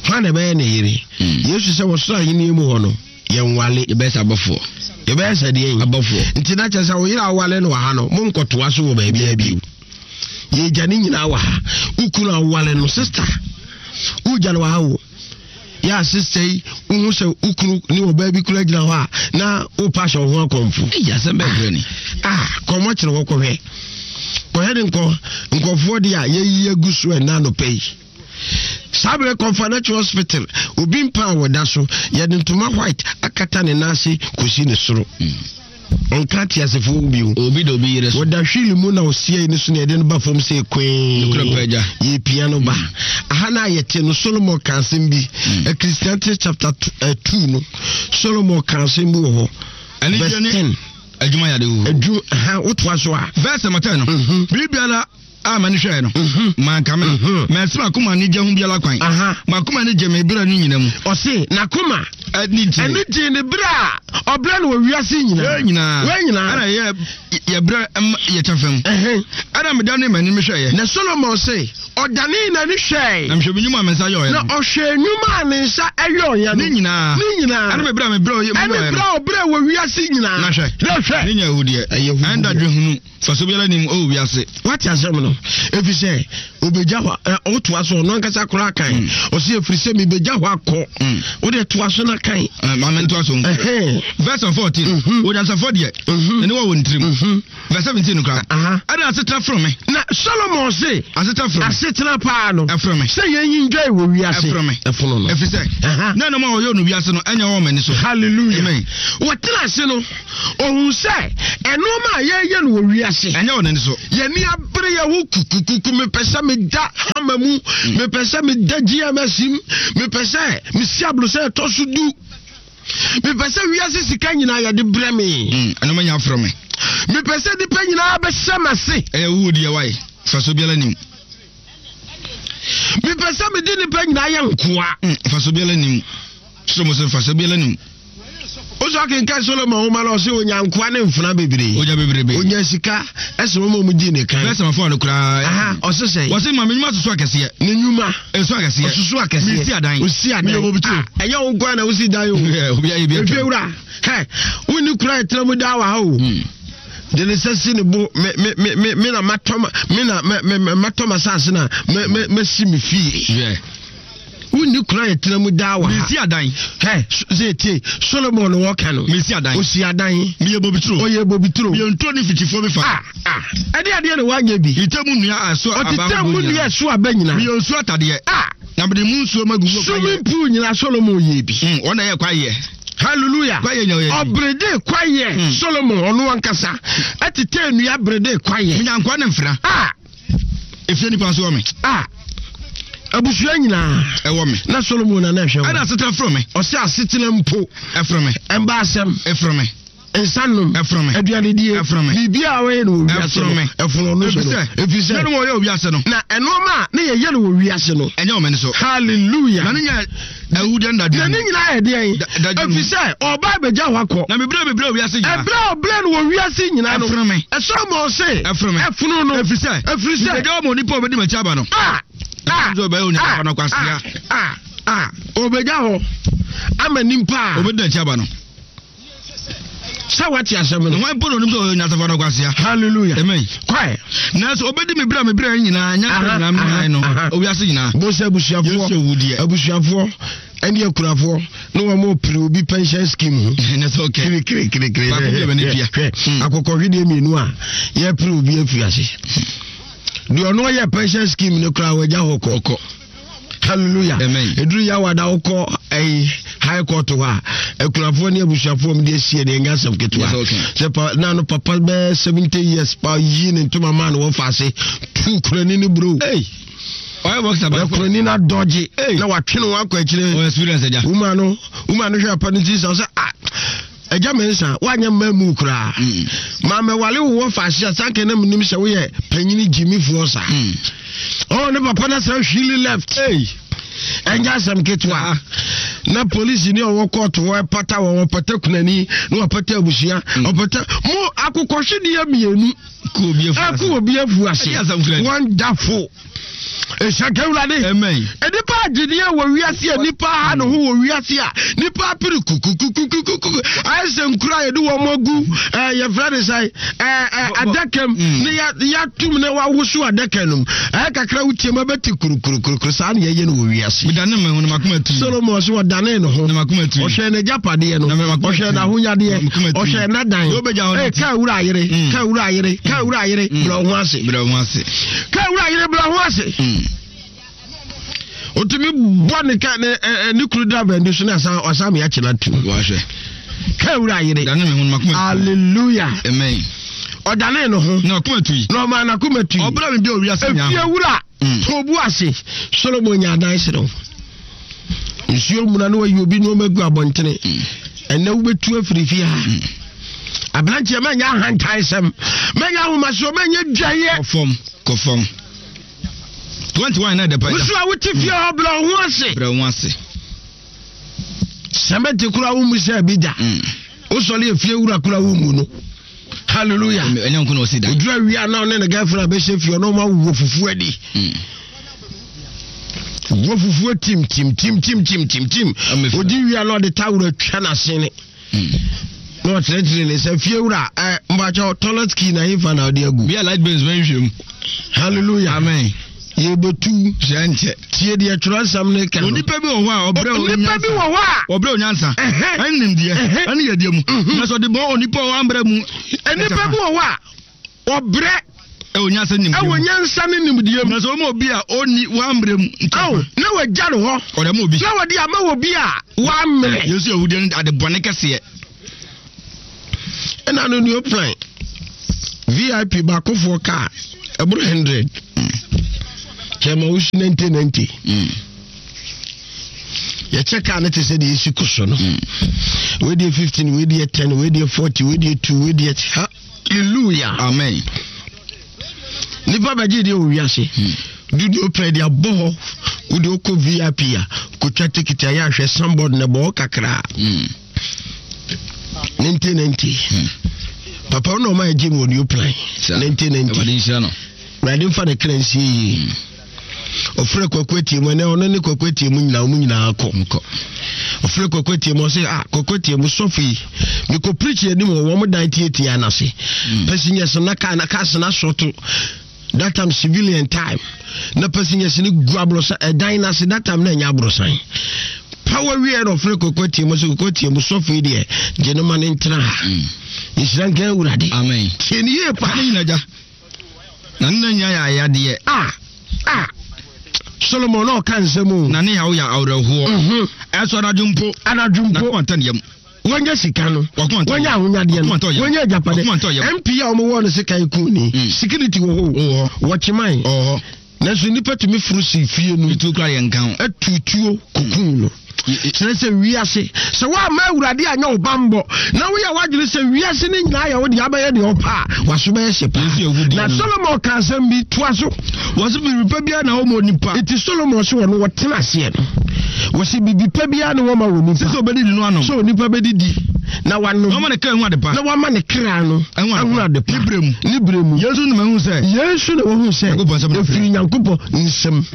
Speaker 2: Hwan na ɛbɛyɛ ne yere? Hmm. Yesu sɛ wɔ soro ahenni mu hɔ no, yɛnwale.
Speaker 3: Yɛbɛyɛ sɛ abɔfoɔ.
Speaker 2: Yɛbɛyɛ sɛ deɛn?
Speaker 3: Abɔfoɔ.
Speaker 2: Nti na kyerɛ sɛ wo yere a wowale no wɔ ha no, monkɔtoa so wɔ baabiara bio. Yɛgya ne nyinaa wɔ ha. Wo kunu a wowale no, sista, wogya no wɔ ha o. Yɛ a sista yi, wohu sɛ wo kunu ne ɔbaa bi kura gyina hɔ a, na wopa ahyɛ wo ho akɔmfo.
Speaker 3: Ɛyɛ asɛm bɛɛ brɛ ni.
Speaker 2: Ah, kɔmmɔ kyerɛ hɔ kɔhwɛ. Kɔhwɛ ne nkɔ nkɔfoɔ deɛ a yɛyi agu so ɛna anɔpa yi. Saa berɛ kɔmfa no akyi hospital obi mpa a wɔda so yɛde ntoma white akata ne nan ase kɔsi ne soro. Ɔnka ateasefoɔ ho bio.
Speaker 3: Obi da obi yere so.
Speaker 2: Wɔda hwili mu na ɔsiei ne so na yɛde no ba fam sɛ kwee.
Speaker 3: Nokorɛ paa agya.
Speaker 2: Yɛpia no ba. Aha no a yɛte no Solomon ka asɛm bi. Ecclesiastes chapter 2 no Solomon ka asɛm bi wɔ hɔ. Verse 10.
Speaker 3: Adwuma yɛ ade huhu.
Speaker 2: Adwuma ha wotoa so a.
Speaker 3: Verse number 10 no. Biribiara a m'ani hwɛɛ no,
Speaker 2: mhm.
Speaker 3: mankame.
Speaker 2: Mhm.
Speaker 3: Mansi m'akoma anigye ho biara kwan. M'akoma ani gye me berɛ no nyina mu.
Speaker 2: Ɔse n'akoma
Speaker 3: ani gye
Speaker 2: ani gye ne berɛ a ɔbrɛ no wɔ wiase nyinaa.
Speaker 3: Wei nyinaa.
Speaker 2: Wei nyinaa.
Speaker 3: Ɛna yɛ yɛbrɛ yɛ kyɛfa mu. Ɛna medane m'ani mehwɛeɛ.
Speaker 2: Na Solomon se ɔdanee n'ani hwɛe.
Speaker 3: Na mehwɛ me nnwuma a me nsa yɔeɛ no.
Speaker 2: Na ɔhwɛɛ nnwuma a ne nsa yɔeɛ no.
Speaker 3: Ne nyinaa.
Speaker 2: Ne nyinaa.
Speaker 3: Ɛne me berɛ a mebrɛ yɛ.
Speaker 2: Ɛne berɛ a ɔbrɛ wɔ wiase nyinaa.
Speaker 3: Na hwɛ.
Speaker 2: Na hwɛ.
Speaker 3: Ne nya ahudeɛ.
Speaker 2: Ɛyɛ huhudeɛ.
Speaker 3: Ɛne dadwen hunu. Mfaso biara nni mu wɔ wiase.
Speaker 2: Woate asɛm no? no ɛfiri sɛ ɔbɛgya hɔ ɔtoa so ɔno ankasa koraa kan hmm. ɔsɛ ɛfiri sɛ mebɛgya hɔ akɔ hmm. wode toa so no kan
Speaker 3: maame ntoa so verse 14 mhm. onyansafoɔ deɛ mhm. ɛne wɔ wɔ ne tirim mhm. Verse 17 no koraa. Ɛna asetena foro me.
Speaker 2: Na Solomon se.
Speaker 3: Asetena foro me.
Speaker 2: Asetena paa no.
Speaker 3: Ɛforo me.
Speaker 2: Sɛ yɛn yi ndwae wɔ wiase.
Speaker 3: Ɛforo me.
Speaker 2: Ɛfono no.
Speaker 3: Ɛfiri sɛ. Na ɛnam a wɔyɛ no wiase no ɛnyɛ wɔn ani so.
Speaker 2: Hallelujah.
Speaker 3: Amen.
Speaker 2: Wɔtena ase no, ohun sɛ ɛnoɔma a yɛyɛ no wɔ wiase.
Speaker 3: Ɛnyɛ wɔn ani so.
Speaker 2: Yɛni abere yɛ ho kukukuku mepɛ sɛ meda hama mu hmm. mepɛ sɛ meda GMS mu mepɛ sɛ mesi abolo sɛ ɛtɔ so du. Mepɛ sɛ wiase sika nyinaa yɛde brɛ me.
Speaker 3: Mm, ɛno manya afrɛ me.
Speaker 2: Mepɛ sɛ nipa nyinaa bɛhyɛ m'ase.
Speaker 3: Ɛyɛ wo deɛ wae, faso biara nim.
Speaker 2: Mepɛ sɛ mede nipa nyinaa yɛ nkoa.
Speaker 3: Mm, faso biara nim. Soro mo sɛ faso biara nim.
Speaker 2: Wosɔ akenkan Solomon nwoma no ɔsɛ onya nkoa ne mfena bebree.
Speaker 3: Onya bebrebe.
Speaker 2: Onya sika ɛsɛ wɔn a wɔn di ne kan.
Speaker 3: Bɛsɛ mafo ano koraa.
Speaker 2: Aha ɔsɛ sɛ.
Speaker 3: Wɔsɛ maame nnwuma soso akɛseɛ.
Speaker 2: Ne nnwuma.
Speaker 3: Nso akɛseɛ.
Speaker 2: Ɔsoso akɛseɛ.
Speaker 3: Mesi adan.
Speaker 2: Osi adan.
Speaker 3: Meyɛ obi turo.
Speaker 2: Ah, ɛnyɛ wo nkoa na wosi dan o.
Speaker 3: Obi ayɛ bi atwa.
Speaker 2: Efie wura hɛ wonni kura ɛtena mu daa wɔ ha o. Hmm. De ne nsa si ne bo me me me me me na matɔ ma me na me me matɔ ma saase na me me mesi me fie.
Speaker 3: Yeah.
Speaker 2: Wonni kura yɛtena mu daa wɔ ha.
Speaker 3: Mesi adan.
Speaker 2: Hɛ sɛ tie Solomon wɔka no.
Speaker 3: Mesi adan.
Speaker 2: Osi adan.
Speaker 3: Meyɛ bobituro.
Speaker 2: Ɔyɛ bobituro.
Speaker 3: Meyɛ nturo ne mfikyifuo bi fa.
Speaker 2: Ah ah ɛde adeɛ na wanyɛ bi.
Speaker 3: Ɔtetɛ mu nnua a ɛso aba
Speaker 2: Ɔtetɛ mu nnua ɛso aba nyinaa.
Speaker 3: Meyɛ nsuo atadeɛ.
Speaker 2: Ah.
Speaker 3: Na mede mu nsuo magu mu.
Speaker 2: Swimming pool nyinaa Solomon yɛ bi.
Speaker 3: Mm, wɔn na ɛyɛ kwayɛ.
Speaker 2: Hallelujah.
Speaker 3: Kwayɛ nya ɔyɛ bi.
Speaker 2: Ɔbrede kwayɛ. Mm. Solomon ɔno ankasa ɛtetɛ nnua brede kwayɛ.
Speaker 3: Menya nkoa ne mfra.
Speaker 2: Ah.
Speaker 3: Efie nipa nso wɔ me.
Speaker 2: A abusua nyinaa.
Speaker 3: Ɛwɔ me.
Speaker 2: Na Solomon na na ɛhwɛ wɔn.
Speaker 3: Ɛna asetena foro me.
Speaker 2: Ɔsɛ asetena mpo.
Speaker 3: Ɛforo me.
Speaker 2: Ɛmba asɛm.
Speaker 3: Ɛforo me.
Speaker 2: Nsa nom.
Speaker 3: Ɛforo me.
Speaker 2: Aduanedie.
Speaker 3: Ɛforo me.
Speaker 2: Biribi a wɔyɛ no wɔ wiase no.
Speaker 3: Ɛforo me.
Speaker 2: Ɛforo no so no.
Speaker 3: Efisɛ. Ɛnu wɔyɛ wɔ wiase no.
Speaker 2: Na ɛnoɔma a ne yɛyɛ no wɔ wiase no.
Speaker 3: Ɛnyɛ wɔn ani so.
Speaker 2: Hallelujah.
Speaker 3: Na ne nyɛ Awudeɛ no dadwene.
Speaker 2: Na ne nyinaa yɛ deɛn?
Speaker 3: Dadwene.
Speaker 2: Ɛfiri sɛ ɔba abɛgya hɔ akɔ.
Speaker 3: Na mebrɛ mebrɛ wɔ wiase nyinaa.
Speaker 2: Ɛbrɛ a ɔbrɛ no wɔ wiase nyinaa no.
Speaker 3: Ɛfono me.
Speaker 2: Ɛsoro ma ɔse.
Speaker 3: Ɛfono me.
Speaker 2: Ɛfono no.
Speaker 3: Ɛfiri sɛ.
Speaker 2: Ɛfiri sɛ.
Speaker 3: Mebɛgya hɔ ma onipa a ɔbɛdi m'akyi aba no.
Speaker 2: Ah! Ah!
Speaker 3: Ɛfiri sɛ ɔbɛyɛ onipa no kwasea.
Speaker 2: Ah! Ah! Ɔbɛgya hɔ ama nipa a.
Speaker 3: Ɔbɛdi n'akyi aba no.
Speaker 2: Sɛ wate asɛm no.
Speaker 3: Hwan mpo na onim sɛ ɔyɛ onyansafo anaa ɔkwasea?
Speaker 2: Hallelujah.
Speaker 3: Amen.
Speaker 2: Kwae.
Speaker 3: Nanso obedi me bere a me bere nyinaa, nyansa nyinaa me nyae no, owiase nyinaa.
Speaker 2: Bo sɛ abusuafoɔ,
Speaker 3: Yesu owu deɛ.
Speaker 2: abusuafoɔ ɛne akurafoɔ ne wɔn pere obi pension scheme ho.
Speaker 3: Ɛnɛ sɛ ɔkɛ.
Speaker 2: Kirikirikirikiri.
Speaker 3: Baako bi a bɛne tua.
Speaker 2: Hwɛ,
Speaker 3: Hmm.
Speaker 2: akokɔhwedeɛ mmienu a yɛpere obi afiri ase. Deɛ ɔno ɔyɛ pension scheme no koraa wagya hɔ kɔ.
Speaker 3: Ɔkɔ.
Speaker 2: Hallelujah.
Speaker 3: Amen.
Speaker 2: Eduru yawada wokɔ ɛyi high court hɔ a akunafoɔ ne abusuafoɔ mu de asie ne ɛnyɛ asɛm ketewa.
Speaker 3: Yes, okay.
Speaker 2: Sɛ pa na no papa bɛɛ 70 years pa yi ne ntoma maa no wɔfa ase tu kurani ne bro.
Speaker 3: Hey. Ɔyɛ boxer
Speaker 2: Na
Speaker 3: baako.
Speaker 2: kurani no adɔgye
Speaker 3: Hey.
Speaker 2: na watwe ne ho akɔ akyire.
Speaker 3: Ɔyɛ experience agya.
Speaker 2: Wuma no wuma no hwɛ apa no ti sɛ ɔsɛ ah Agya Mensah, woanyɛ mmaa mu koraa.
Speaker 3: Mm.
Speaker 2: Ma mɛwale wo wɔ faase a sanka na menim sɛ woyɛ panyini gyimifoɔ saa.
Speaker 3: Mm.
Speaker 2: Oh, ne papa no sɛ hwili left.
Speaker 3: Hey.
Speaker 2: Ɛnyɛ asɛm ketewa. Na polisi ne ɔwɔ kɔɔto hɔ ɛpata wɔn ɔpata kunani na ɔpata abusua
Speaker 3: mm.
Speaker 2: ɔpata mo akokɔhwedeɛ mmienu.
Speaker 3: Ɛkɔ
Speaker 2: obi afu ase. Wonderful. Nhyɛnka Awurade.
Speaker 3: Amen.
Speaker 2: Nipa agyedeɛ wɔ wiase a nipa aha ne ho wɔ wiase a nipa apere kukukukukuku ayɛ sɛ nkura a yɛde wɔn agu ɛɛ yɛfrɛ ne sɛ ɛɛ ɛɛ adaka mu mm. ne yɛatum ne wawoso adaka no mu ɛyɛ kakra wotie mu ɛbɛte kurukurukurukuru saa ne yɛyɛ no wɔ wiase.
Speaker 3: Medane me ho na makoma tu.
Speaker 2: Solomon so ɔdane ne ho.
Speaker 3: Na makoma tu.
Speaker 2: Ɔhwɛ n'agyapadeɛ no. Ɔhwɛ n'ahonyadeɛ. Ɔhwɛ n'adan. Ɛɛ kaa wura ayere.
Speaker 3: Mm.
Speaker 2: Kaa wura ayere. Kaa wura ayere.
Speaker 3: Mm.
Speaker 2: Brɛ ho ase.
Speaker 3: Brɛ ho ase.
Speaker 2: Ka wura yere bra ho ase.
Speaker 3: Hmm.
Speaker 2: Otumi bɔ ne ka ne ɛ ne kuru driver ndi so ne asan ɔsan mi akyina tu.
Speaker 3: Wahwɛ.
Speaker 2: Ka wura yere.
Speaker 3: Dane me ho no makoma.
Speaker 2: Hallelujah.
Speaker 3: Amen.
Speaker 2: Ɔdane ne ho.
Speaker 3: Na ɔkoma tui.
Speaker 2: Na ɔma n'akoma tui.
Speaker 3: Ɔbra mi bi owia se nya.
Speaker 2: Efie wura.
Speaker 3: Mm.
Speaker 2: Tobu ase. Solomon nya adan serew. Nsuo muna na wayi obi nneɛma gu abɔntene.
Speaker 3: Mm.
Speaker 2: Ɛnɛ wobɛtu afiri fie ha.
Speaker 3: Mm.
Speaker 2: Aberanteɛ mɛnyɛ ahantansɛm, mɛnyɛ ahomasoɔ, mɛnyɛ dwaeɛ.
Speaker 3: Kɔ fam, kɔ fam. 21 na ɛdɛ pa.
Speaker 2: Wosu a wote fie hɔ brɛ wo ho ase.
Speaker 3: Brɛ wo ho ase.
Speaker 2: Sɛmɛnte kora wo mu sɛ bi da.
Speaker 3: Mm.
Speaker 2: Wosɔre efie wura kora wo mu no. Hallelujah.
Speaker 3: Ɛnyɛ nko na ɔsi da.
Speaker 2: Oduru awia na ɔne ne girlfriend abɛhyɛ fie ɔno ɔma wɔ fufuo adi.
Speaker 3: Mm.
Speaker 2: Wɔ fufuo tim tim tim tim tim tim tim. Odi wia na ɔde tawuro atwa n'asene.
Speaker 3: Mm.
Speaker 2: Na ɔkyerɛkyerɛ ne sɛ fie wura ɛ mpakyɛw toilet key na hefa na ɔde agu.
Speaker 3: Bi a light bills bɛnhwɛ mu.
Speaker 2: Hallelujah.
Speaker 3: Amen.
Speaker 2: Yɛbɛtu.
Speaker 3: Hyɛ nkyɛ.
Speaker 2: Tie deɛ twerɛsɛm no ka no.
Speaker 3: Onipa bi wɔ hɔ a ɔbrɛ onyansa.
Speaker 2: Onipa bi wɔ hɔ a.
Speaker 3: Ɔbrɛ onyansa. Ɛne nimdeɛ. Ɛne yɛdeɛ mu.
Speaker 2: Mhm.
Speaker 3: Na sɛ ɔde bɔ onipa a wambrɛ mu.
Speaker 2: Onipa bi wɔ hɔ a ɔbrɛ.
Speaker 3: Ɛwɔ nyansa ne nimdeɛ mu.
Speaker 2: Ɛwɔ nyansa ne nimdeɛ mu.
Speaker 3: Na sɛ ɔma obi a ɔnni wambrɛ mu.
Speaker 2: Awo na wagya no hɔ.
Speaker 3: Ɔde ama obi.
Speaker 2: Na wɔde ama obi a wambrɛ.
Speaker 3: Yesu ahudeɛ no ade bɔne kɛseɛ.
Speaker 2: Ɛna no new plan vip baakofoɔ kaa ɛboro 100 kyɛma wosi 1990 yɛkyɛ kaa no te sɛ deɛ ɛsi ko so no wei deɛ 15 wei deɛ 10 wei deɛ 40 wei deɛ 2 wei deɛ hallelujah
Speaker 3: amen
Speaker 2: nipa bɛgye deɛ wɔ wiase dudu pɛ de abɔ hɔ wode wokɔ vip a kɔtwa tikiti a yɛ ahwɛ sambɔd na ɛbɔ hɔ kakraa 1990 hmm. papa wo na ɔma ɛgye mu wɔ new plan 1990 awurade mfa ne kra nsie yie hmm. ɔfrɛ kwaku atie mu ɛnɛ ɔno ne kwaku atie mu nyinaa ɔmu nyinaa kɔ ɔfrɛ kwaku atie mu ɔsɛ ah kwaku atie mu sɔfo yi mekɔ preach anim wɔ wɔn dan tietie anase hmm. passengers na kaa na cars na sɔto that time civilian time na passengers no gu aborosan ɛdan no ase that time na ɛnyɛ aborosan power wie na ɔfrɛ koko tie mu sɛ koko tie mu sɔfo yi deɛ gye no ma ne ntena ha mm. nhyira nka awurade
Speaker 3: amen
Speaker 2: tie ne yie pa
Speaker 3: ne nyina gya na ne nya yɛ ayadeɛ
Speaker 2: ah ah solomon na ɔka nsɛm o
Speaker 3: na ne yaw yɛ awerɛhoɔ
Speaker 2: mhm.
Speaker 3: ɛsɔ anadwo mpo
Speaker 2: anadwo mpo
Speaker 3: na kɔma ntɛ ne yam
Speaker 2: wɔnya sika no wɔnya ahonyadeɛ no wɔnya agyapadeɛ mp a wɔwɔ no sika eku ni mm. security wɔ hɔ wɔkyeman nanso nnipa tumi foro si fie no atutuo kokun no kyerɛ sɛ wiase sɛ woamma awurade anyɛ wo bammɔ na woyɛ w'adwene sɛ wiase no nyinaa yɛ wo deɛ abɛyɛ deɛ ɔpɛ a waso bɛyɛ hye paa na solomon ka asɛm bi toa so
Speaker 3: Wɔse biribi pa biara na wɔma onipa.
Speaker 2: Enti Solomon se wɔno wɔtena aseɛ no, wɔse biribi pa biara ne wɔma wɔ nipa.
Speaker 3: Sɛ ɔbɛdidi no anom.
Speaker 2: Sɛ onipa bɛdidi na wanom.
Speaker 3: Na wama ne kra ahu adepa.
Speaker 2: Na wama ne kra no ahu adepa.
Speaker 3: Ne berɛ mu.
Speaker 2: Ne berɛ mu.
Speaker 3: Yei nso na mahu sɛ.
Speaker 2: Yei nso na wahu sɛ.
Speaker 3: Nyankopɔn nsam na
Speaker 2: ɛfiri Nyankopɔn nsam.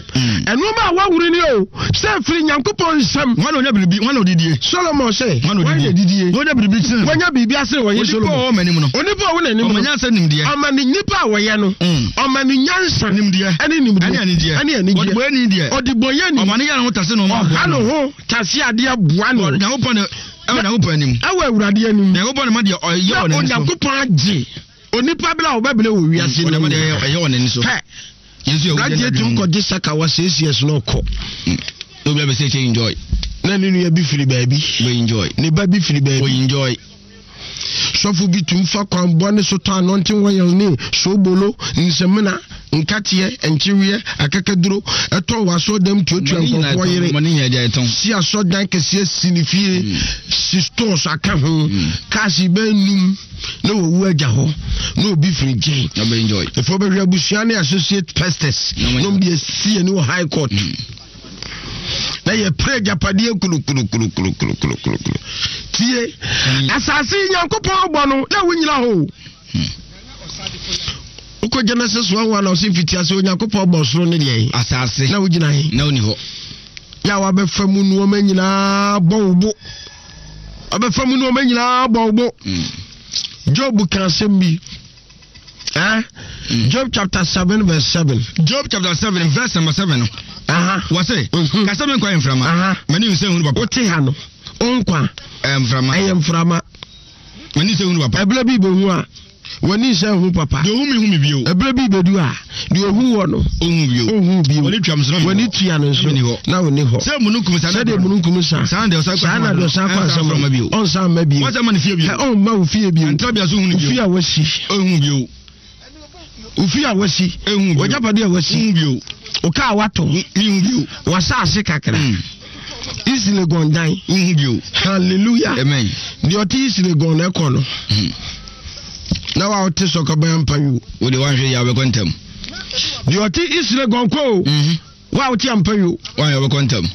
Speaker 2: Ɛnoɔma a waworo ni o, sɛ ɛfiri Nyankopɔn nsam.
Speaker 3: Hwan na ɔnya biribi, hwan na ɔdidie?
Speaker 2: Solomon sɛ,
Speaker 3: Hwan na ɔdidie?
Speaker 2: Na
Speaker 3: ɔnya biribi sene no.
Speaker 2: Wanya biribi asene wɔye Solomon.
Speaker 3: Onipa a ɔwɔ m'anim no.
Speaker 2: Onipa a ɔwɔ n'anim no.
Speaker 3: Ɔma nyansa nimdeɛ.
Speaker 2: Ɔma ne nipa a wɔyɛ no. Ɔma no nyansa.
Speaker 3: Nimdeɛ.
Speaker 2: Ɛne nimdeɛ.
Speaker 3: Ɛne anigyeɛ.
Speaker 2: Ɛne anigyeɛ.
Speaker 3: Ɔdebɔyɛni deɛ.
Speaker 2: Ɔdebɔyɛni.
Speaker 3: Ɔma ne yɛ ne ho tase na ɔma
Speaker 2: Ɔha ne ho tase adeɛ boa no.
Speaker 3: Nyankopɔn na ɛwɔ Nyankopɔn anim.
Speaker 2: Ɛwɔ Awurade anim.
Speaker 3: Nyankopɔn na ma deɛ ɔyɛ wɔ n'ani so.
Speaker 2: Na Onyankopɔn agye onipa bere a ɔbɛbrɛ wɔ wiase no.
Speaker 3: Ɔde ma deɛ ɛyɛ wɔ n'ani so.
Speaker 2: Hɛ.
Speaker 3: Yesu yɛ
Speaker 2: Aberanteɛ tumi kɔgye saka wɔ six years na ɔkɔ.
Speaker 3: Obi abɛsɛ kyɛ enjoy.
Speaker 2: Na ne nua bi firi baabi.
Speaker 3: Bɛ enjoy.
Speaker 2: Ne ba bi firi baabi.
Speaker 3: Bɛ enjoy.
Speaker 2: Sɔfo bi tumi fa kwan bɔne so tɔ anointing oil ne soobolo, nsamina, nkateɛ, nkyeweɛ, akakaduro, ɛtɔn wɔ asɔɔdam tuatua nkurɔfoɔ yere, si asɔɔdan kɛseɛ si ne fie, mm. si stores aka ho, mm. cars bɛn num na wɔwu agya hɔ na obi firi nkyɛn. Ɛfɔ bɛhwɛ abusua ne associate pastors na wɔn de asi ani wɔ high court. Mm. Na yɛpere agyapadeɛ kulukulukulukulukulukulu. Tie, asase yi Nyankopɔn bɔ no na wonyina hɔ o. Hmm. Wokɔ Genesis 1 1 na ɔse mfitiase Onyankopɔn bɔ soro ne deɛ
Speaker 3: asase
Speaker 2: na wogyina he
Speaker 3: na woni hɔ.
Speaker 2: Yɛ a wabɛfa mu nneɛma nyinaa bɔ wo bo. Wabɛfa mu nneɛma nyinaa bɔ wo bo. Hmm. Job ka asɛm bi. Eh? Mm. Job chapter 7 verse 7.
Speaker 3: Job chapter 7 verse number 7 no. Aha. Wɔse, mm-hmm. kasa me nkwa yɛ mframa.
Speaker 2: Aha.
Speaker 3: M'ani nsɛ hunu papa.
Speaker 2: Wote ha no, nkwa.
Speaker 3: Ɛyɛ mframa.
Speaker 2: Ɛyɛ mframa.
Speaker 3: M'ani nsɛ hunu papa.
Speaker 2: Ɛberɛ bi bɛhu a, w'ani nsɛ hu papa.
Speaker 3: Deɛ ohu mi hu mi bio.
Speaker 2: Ɛberɛ bi bɛdu a, deɛ ohu wɔ no.
Speaker 3: Ohu bio.
Speaker 2: Ohu bio.
Speaker 3: W'ani tua nso na
Speaker 2: W'ani tua no nso na ɔni hɔ.
Speaker 3: Sɛ mununkum sa.
Speaker 2: Sɛdeɛ mununkum sa.
Speaker 3: Saa na deɛ ɔsan kɔ
Speaker 2: Saa na deɛ ɔsan kɔ
Speaker 3: asɛm
Speaker 2: bio. Ɔnsan mma bio.
Speaker 3: Wɔn ma ne fie bio.
Speaker 2: Ɔmma wo fie bio.
Speaker 3: Ntrabea so hunu bio.
Speaker 2: Ofie a wasi.
Speaker 3: Ohu bio.
Speaker 2: Ofie a wasi.
Speaker 3: Ehu bio.
Speaker 2: W'agyapade a wasi.
Speaker 3: Ehu bio.
Speaker 2: Wo kaa wato.
Speaker 3: Ehu bio.
Speaker 2: W'asaase kakra.
Speaker 3: Mm.
Speaker 2: East Legon dan.
Speaker 3: Ehu bio.
Speaker 2: Hallelujah.
Speaker 3: Amen.
Speaker 2: Deɛ ɔte East Legon na ɛkɔ no.
Speaker 3: Mm.
Speaker 2: Na wa ɔte sɔkɔbɛn mpa yi.
Speaker 3: Wo de wanhwɛ yɛ abɛkɔ ntɛm.
Speaker 2: Deɛ ɔte East Legon kɔ o.
Speaker 3: Mm-hmm.
Speaker 2: Wo a wote ampa yi o.
Speaker 3: Wɔn a wɔbɛkɔ ntɛm.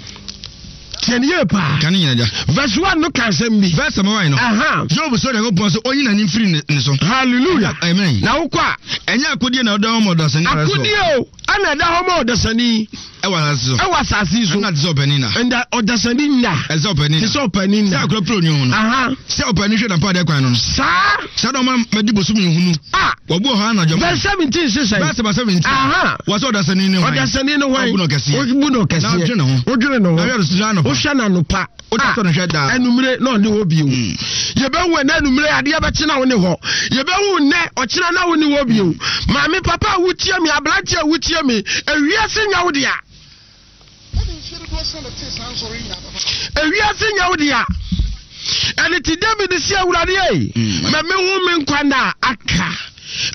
Speaker 2: Tiɛ ne yie paa.
Speaker 3: Ka ne nyina gya.
Speaker 2: Verse 1 no ka asɛm bi.
Speaker 3: Verse 1 no.
Speaker 2: Aha.
Speaker 3: Job sɛ Onyankopɔn sɛ ɔnyi n'ani mfiri ne so.
Speaker 2: Hallelujah.
Speaker 3: Amen.
Speaker 2: Na wokɔ a.
Speaker 3: Ɛnyɛ akodie na ɔda hɔ ma ɔdasani.
Speaker 2: Akodie o ɛna ɛda hɔ ma ɔdasani.
Speaker 3: Ɛwɔ asase so.
Speaker 2: Ɛwɔ asase yi so.
Speaker 3: Ɛna te sɛ ɔpanin na.
Speaker 2: Ɛnda ɔdasani nna.
Speaker 3: Ɛsɛ ɔpanin na.
Speaker 2: Te sɛ ɔpanin na.
Speaker 3: Sɛ akora pere onii ho no.
Speaker 2: Aha.
Speaker 3: Sɛ ɔpanin hwɛ n'ampadeɛ kwan no no.
Speaker 2: Saa.
Speaker 3: Saa na ɔma madi bosom nhunu.
Speaker 2: Ah.
Speaker 3: Wɔbu ɔhaw anadwo.
Speaker 2: Verse 17 sesɛn.
Speaker 3: Verse 17.
Speaker 2: Aha.
Speaker 3: Wɔ sɛ ɔdasani ne hwan.
Speaker 2: Ɔdasani ne hwan.
Speaker 3: Ɔbu no kɛseɛ.
Speaker 2: Ɔbu no kɛseɛ.
Speaker 3: Na ɔdwene ne ho.
Speaker 2: Ɔdwene ne ho.
Speaker 3: Na ɔhwɛ no anɔpa.
Speaker 2: Wohwɛ no anɔpa.
Speaker 3: Wode sɔ no hwɛ daa.
Speaker 2: Anumere na ɔne hɔ bio. Yɛbɛhu ɛnɛ anumere adeɛ bɛkye na wo ne hɔ. Yɛbɛhu nnɛ ɔkyena na wo ne hɔ bio. Maame papa a wotie me, aberante a wotie me, ewiase nyɛ wo dea. Ewiase nyɛ wo dea. Ɛne ti David si awurade ei, ma mehu me nkwa nna a aka.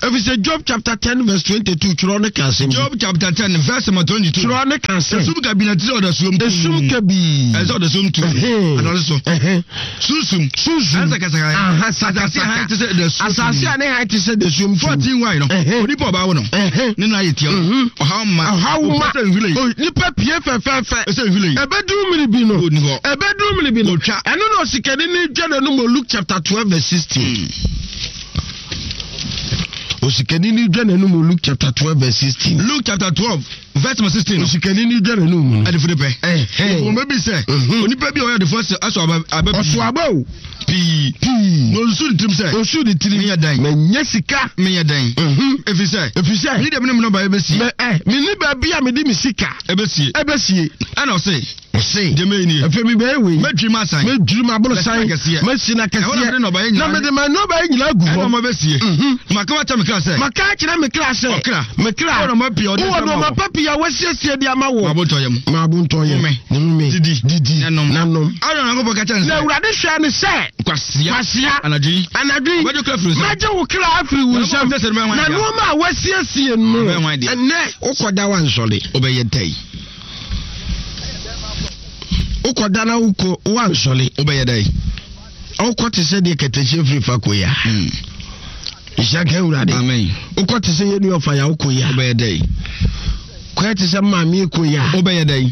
Speaker 2: Efisɛ Job chapter 10 verse 22 twerɛ no ka asɛm bi.
Speaker 3: Job chapter 10 verse number 22.
Speaker 2: Twerɛ no ka sɛ.
Speaker 3: Esum kabii na ɛte sɛ ɔdasuom tuu.
Speaker 2: Esum kabii.
Speaker 3: Ɛsɛ ɔdasuom tuu. Anɔre so. Sunsum.
Speaker 2: Sunsum.
Speaker 3: Ɛne sakasaka.
Speaker 2: Aha
Speaker 3: Asase a hann
Speaker 2: sakasaka.
Speaker 3: te sɛ dasuom.
Speaker 2: Asase a ne hann te sɛ dasuom tuu.
Speaker 3: 14 why no. Onipa ɔbaa wo no. Ne nan ayɛ tia. Ɔhaw mma.
Speaker 2: Ɔhaw mma.
Speaker 3: Sɛ nhwiren.
Speaker 2: O, Nipa pie fɛfɛɛfɛ.
Speaker 3: Sɛ nhwiren.
Speaker 2: Ɛbɛduru mmiri bi no.
Speaker 3: Ɔnni hɔ.
Speaker 2: Ɛbɛduru mmiri bi no.
Speaker 3: Ɔtwa.
Speaker 2: Ɛno na osikani no dwa n'anum wɔ Luke chapter 12 verse 16. Osikani ni dwa n'anum wɔ Luke chapter 12 verse 16.
Speaker 3: Luke chapter 12 verse number 16.
Speaker 2: Osikani ni dwa n'anum no.
Speaker 3: Adefo de pɛ. Wɔn bɛ bi sɛ. Mhm. Onipa bi a ɔyɛ adefo ɛsɔ aba aba pii.
Speaker 2: Ɔsɔ aba o.
Speaker 3: Pii.
Speaker 2: Pii.
Speaker 3: Na osusu ne tirim sɛ.
Speaker 2: Osusu ne tirim.
Speaker 3: Meyɛ dɛn.
Speaker 2: Mɛnyɛ sika.
Speaker 3: Meyɛ dɛn.
Speaker 2: Mhm.
Speaker 3: Efisɛ.
Speaker 2: Efisɛ.
Speaker 3: Mi de mi ne mi nɔba ebesie.
Speaker 2: Mɛ ɛ mi ni baabi a mi de mi sika.
Speaker 3: Ebesie.
Speaker 2: Ebesie.
Speaker 3: Ɛna ɔse.
Speaker 2: Ɔse,
Speaker 3: Deɛ mɛyɛ nie.
Speaker 2: Afei mebɛyɛ wei.
Speaker 3: Mɛdwiri m'asan.
Speaker 2: Mɛdwiri m'aborosan.
Speaker 3: Mɛsi n'akɛseɛ.
Speaker 2: Mɛsi n'akɛseɛ.
Speaker 3: Ɛhɔ na mede nnɔbaeɛ nyinaa.
Speaker 2: Na mede m'nnɔbaeɛ nyinaa agu hɔ.
Speaker 3: Ɛna ɔma bɛsie.
Speaker 2: Mhm.
Speaker 3: Maka makyerɛ me kra sɛ.
Speaker 2: Maka akyerɛ me kra sɛ.
Speaker 3: Ɔkra.
Speaker 2: Me kra.
Speaker 3: Wowɔ nnoɔma pii a wɔde
Speaker 2: Wowɔ
Speaker 3: ama
Speaker 2: nnoɔma
Speaker 3: wo.
Speaker 2: pa pii a wɔasiesie de ama woɔ.
Speaker 3: Ma bo ntɔ yam.
Speaker 2: Ma bo ntɔ yam.
Speaker 3: Home.
Speaker 2: Home.
Speaker 3: Didi.
Speaker 2: Didi.
Speaker 3: Na nom.
Speaker 2: Na nom.
Speaker 3: Aaron Nyankopɔn ka kyerɛ no
Speaker 2: Na
Speaker 3: sɛ.
Speaker 2: Awurade hwɛɛ no sɛ.
Speaker 3: Kwasea.
Speaker 2: Kwasea.
Speaker 3: Anadwo yi.
Speaker 2: Anadwo yi.
Speaker 3: Wɔbɛgye wo kra afiri wo nsam.
Speaker 2: Mɛgye wo kra afiri wo
Speaker 3: Na
Speaker 2: nsam.
Speaker 3: nnoɔma a wɔasiesie no bɛyɛ hwan
Speaker 2: Na
Speaker 3: dea?
Speaker 2: nnoɔma a wɔasiesie no.
Speaker 3: Ɛbɛyɛ hwan dea?
Speaker 2: Ɛnnɛ wokɔda woansɔre.
Speaker 3: Wobɛyɛ dɛn?
Speaker 2: Wokɔda na wokɔ woansɔre.
Speaker 3: Wobɛyɛ dɛn?
Speaker 2: Wokɔ te sɛ deɛ kɛtɛhyɛ firi fa kɔ yi a.
Speaker 3: Hmm.
Speaker 2: Nhyira nka Awurade.
Speaker 3: Amen.
Speaker 2: Wokɔ te sɛ yɛn nua ɔfa ya wokɔ yi a.
Speaker 3: Wobɛyɛ dɛn?
Speaker 2: Kɔyɛ te sɛ maame kɔ yi a.
Speaker 3: Wobɛyɛ dɛn?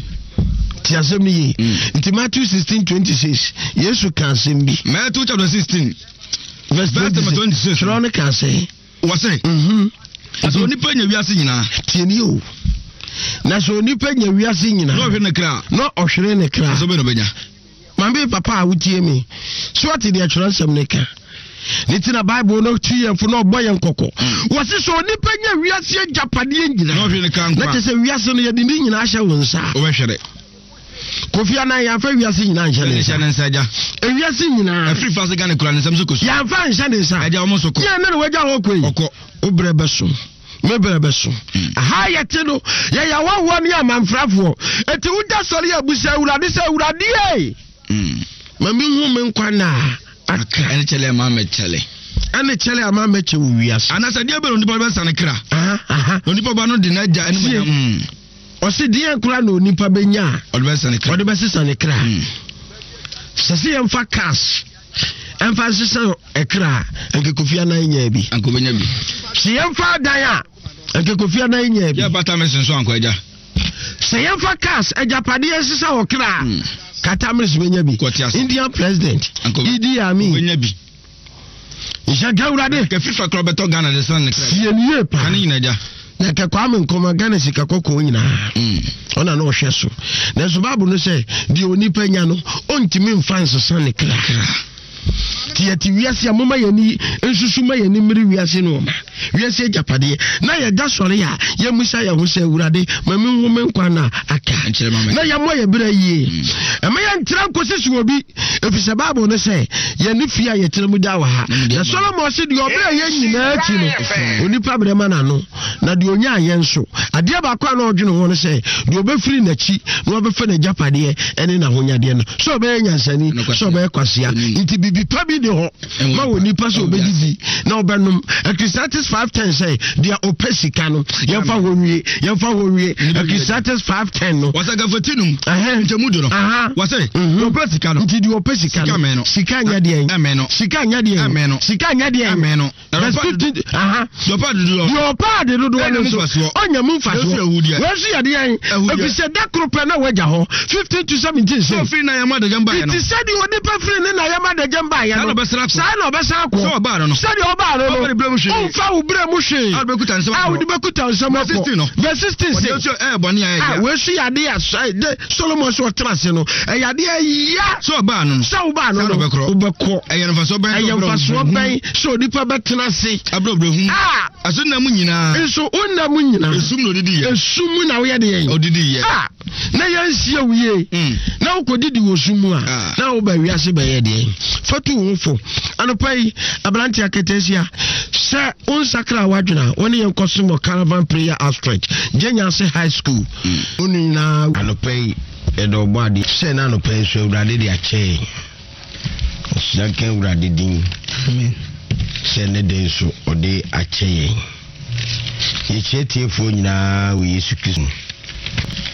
Speaker 2: Te asɛm no yie.
Speaker 3: Hmm.
Speaker 2: Nti Matthew 16 26 Yesu ka asɛm bi.
Speaker 3: Matthew chapter 16
Speaker 2: verse 26. Twerɛ no ka sɛ.
Speaker 3: Wɔse,
Speaker 2: mhm.
Speaker 3: Na sɛ onipa nya wiase nyinaa.
Speaker 2: Tie nie o. Na sɛ onipa nya wiase nyinaa.
Speaker 3: Na ɔhwere ne kra.
Speaker 2: Na ɔhwere ne kra.
Speaker 3: Ɛsɛ bɛ na ɔbɛnya.
Speaker 2: Maame papa a wotie mi. So ɔte deɛ twerɛnsɛm ne ka. Ne ti na Bible no tu yɛn fo na ɔbɔ yɛn kɔkɔ. Wɔse sɛ onipa nya wiase agyapadeɛ nyinaa.
Speaker 3: Na ɔhwere ne kra nkwa.
Speaker 2: Na kyerɛ sɛ wiase no yɛde ne nyinaa ahyɛ wo nsa.
Speaker 3: Wobɛhwere.
Speaker 2: Kofi Annan yɛamfa wiase nyinaa nhyɛ ne
Speaker 3: nsa. Ne nsa agya.
Speaker 2: Ewiase nyinaa.
Speaker 3: Ɛfiri fa se Ghana kura ne nsam so kɔsu.
Speaker 2: Yɛamfa nhyɛ ne nsa.
Speaker 3: Agya wɔn nso kɔ.
Speaker 2: Yɛn ne na wagya hɔ kɔ yi.
Speaker 3: Ɔkɔ.
Speaker 2: Wo brɛ bɛso. Me brɛ bɛso.
Speaker 3: Hmm.
Speaker 2: Aha yɛte no yɛyɛ ahɔhoɔ ne amanfrafoɔ. Eti wogya sɔre abusa Awurade sɛ Awurade ei.
Speaker 3: Hmm.
Speaker 2: Ma mehu me nkwa nna a aka.
Speaker 3: Ɛne kyɛlɛ ama mɛkyɛlɛ.
Speaker 2: Ɛne kyɛlɛ ama mɛkyɛ wɔ wiase.
Speaker 3: Anasɛ deɛ bɛ na onipa bɛsa ne kra.
Speaker 2: Aha aha.
Speaker 3: Na onipa ba no de n'agya ɛne
Speaker 2: Tie.
Speaker 3: manyam.
Speaker 2: Ɔse deɛn koraa na onipa bɛnya a
Speaker 3: Ɔde bɛsesa ne kra.
Speaker 2: ɔde bɛsesa ne kra?
Speaker 3: Hmm.
Speaker 2: Sɛ sɛ yɛmfa cars ɛmfa nsesa ɛkra a, anka Kofi Annan nyaa bi.
Speaker 3: Anka ɔbɛnya bi.
Speaker 2: Sɛ yɛmfa adan a, anka Kofi Annan nyaa bi.
Speaker 3: Yɛ bata me senso ankɔ agya.
Speaker 2: Sɛ yɛmfa cars agyapadeɛ nsesa wɔ kra a,
Speaker 3: Hmm.
Speaker 2: Katamis bɛnya bi.
Speaker 3: Kɔte ase.
Speaker 2: Indian president
Speaker 3: Anka
Speaker 2: Idi Amin.
Speaker 3: ɔbɛnya bi.
Speaker 2: Nhyɛ nka Awurade.
Speaker 3: Nka FIFA kora bɛtɔ Ghana de san ne kra.
Speaker 2: Sie no yie paa.
Speaker 3: Kane nyina agya.
Speaker 2: Na nka Kwame Nkrumah Ghana sika kɔkɔɔ nyinaa.
Speaker 3: Mm.
Speaker 2: Ɔna na ɔhwɛ so. Nanso Bible no sɛ deɛ onipa nya no ɔntumi mfa nsesa ne kra. Nti yɛte wiase a moma yɛni nsusu ma yɛni mmiri wiase no ɔma wiase agyapadeɛ na yɛda sɔre a yɛmmisa yɛn ho sɛ Awurade ma menhu me nkwa na aka na yɛmmɔ yɛ berɛ yie.
Speaker 3: Mm.
Speaker 2: Ɛma yɛntra nkɔsi so obi Efisɛ Bible no sɛ, Yɛne fie a yɛtena mu daa wɔ ha. Na Solomon se, Deɛ ɔbrɛ yɛn nyinaa akyi no, onipa brɛ ma n'ano, na deɛ ɔnyaa yɛn nso. Adeɛ baako a na ɔdwene ho no sɛ, deɛ ɔbɛfiri n'akyi na wabɛfa n'agyapadeɛ ne n'ahonyadeɛ no, sɛ ɔbɛyɛ nyansani, sɛ ɔbɛyɛ kwasea. Nti biribi pa bi ne hɔ ma wɔ nipa sɛ ɔbɛdidi na ɔbɛnom. Ecclesiastes 5:10 sɛ, deɛ ɔpɛ sika no, yɛmfa hɔ nwie, yɛmfa hɔ nwie. Ecclesiastes 5:10 no.
Speaker 3: Wɔsɛ gafati num. Nkyɛmu du no. Wɔsɛ
Speaker 2: mhm.
Speaker 3: deɛ ɔpɛ sika no.
Speaker 2: Nti deɛ ɔpɛ sika no.
Speaker 3: Sika
Speaker 2: Sika nyɛ deɛ.
Speaker 3: Ɛmɛ no.
Speaker 2: Sika nyɛ deɛ.
Speaker 3: Ɛmɛ no.
Speaker 2: Sika nyɛ deɛ.
Speaker 3: Ɛmɛ no.
Speaker 2: Verse 15.
Speaker 3: Deɛ ɔpɛ ade dodoɔ.
Speaker 2: Deɛ ɔpɛ ade dodoɔ no nso. Ɔnya mu mfasoɔ.
Speaker 3: Wɔn
Speaker 2: nso yɛ deɛ. Ɛfiri sɛ da koro pɛ na wɔagya hɔ. 15 to 17 sɛ.
Speaker 3: Sɛ ɔfiri na yɛn adagyam baeɛ no.
Speaker 2: Nti sɛdeɛ onipa firi ne na yɛn adagyam baeɛ no.
Speaker 3: Saa na ɔbɛsan
Speaker 2: akɔ.
Speaker 3: Sɛ ɔbaa no no.
Speaker 2: Sɛdeɛ ɔbaa no no.
Speaker 3: Ɔmfa ne berɛ mu hwee.
Speaker 2: Ɔmfa wo berɛ mu hwee.
Speaker 3: A wode bɛkuta nsɛm
Speaker 2: A wode bɛkuta nsɛm
Speaker 3: Verse
Speaker 2: akɔ.
Speaker 3: 16 no.
Speaker 2: Verse 16
Speaker 3: Wɔde
Speaker 2: se.
Speaker 3: nso ɛyɛ bɔne a ɛyɛ
Speaker 2: A
Speaker 3: ya.
Speaker 2: wei nso yɛ adeɛ a de Solomon sɛ ɔtena ase no, ɛyɛ adeɛ a ɛya.
Speaker 3: Sɛ ɔbaa no no.
Speaker 2: Sɛ wobaa no
Speaker 3: Saa na
Speaker 2: no,
Speaker 3: ɔbɛkorɔ.
Speaker 2: wobɛkɔ.
Speaker 3: Ɛyɛ mfasoɔ bɛn sɛ
Speaker 2: Ɛyɛ
Speaker 3: ɔbrɛ
Speaker 2: mfasoɔ
Speaker 3: ɔbrɛ
Speaker 2: bɛn sɛ onipa bɛtena ase.
Speaker 3: Abrɛ ɔbrɛ hu.
Speaker 2: A.
Speaker 3: Ɛso nna mu nyinaa.
Speaker 2: Nso wo nna mu nyinaa.
Speaker 3: Esum na odidi yɛ.
Speaker 2: Esum mu na woyɛ deɛ.
Speaker 3: Odidi yɛ.
Speaker 2: A na yɛnsie wo yie.
Speaker 3: Mm.
Speaker 2: Na wokɔdidi wɔ sum mu a.
Speaker 3: Ah.
Speaker 2: Na woba wiase bɛyɛ deɛ. Fa tu wo ho fo. Anɔpa yi, aberante aketesia, sɛ wonsakra w'adwene a, wo ne yɛn nkɔsom wɔ Caravan Prayer Outstretch, Gyenyase High School.
Speaker 3: Mm.
Speaker 2: Wo ne nyinaa. Anɔpa yi, yɛde ɔbɔ adeɛ. Sɛ na anɔpa yi nso Awurade de akyɛ yɛn. Nhyira nka Awurade din sɛ ne de nso ɔde akyɛ yɛn. Yɛkyia tiefoɔ nyinaa wɔ Yesu Kristo mu.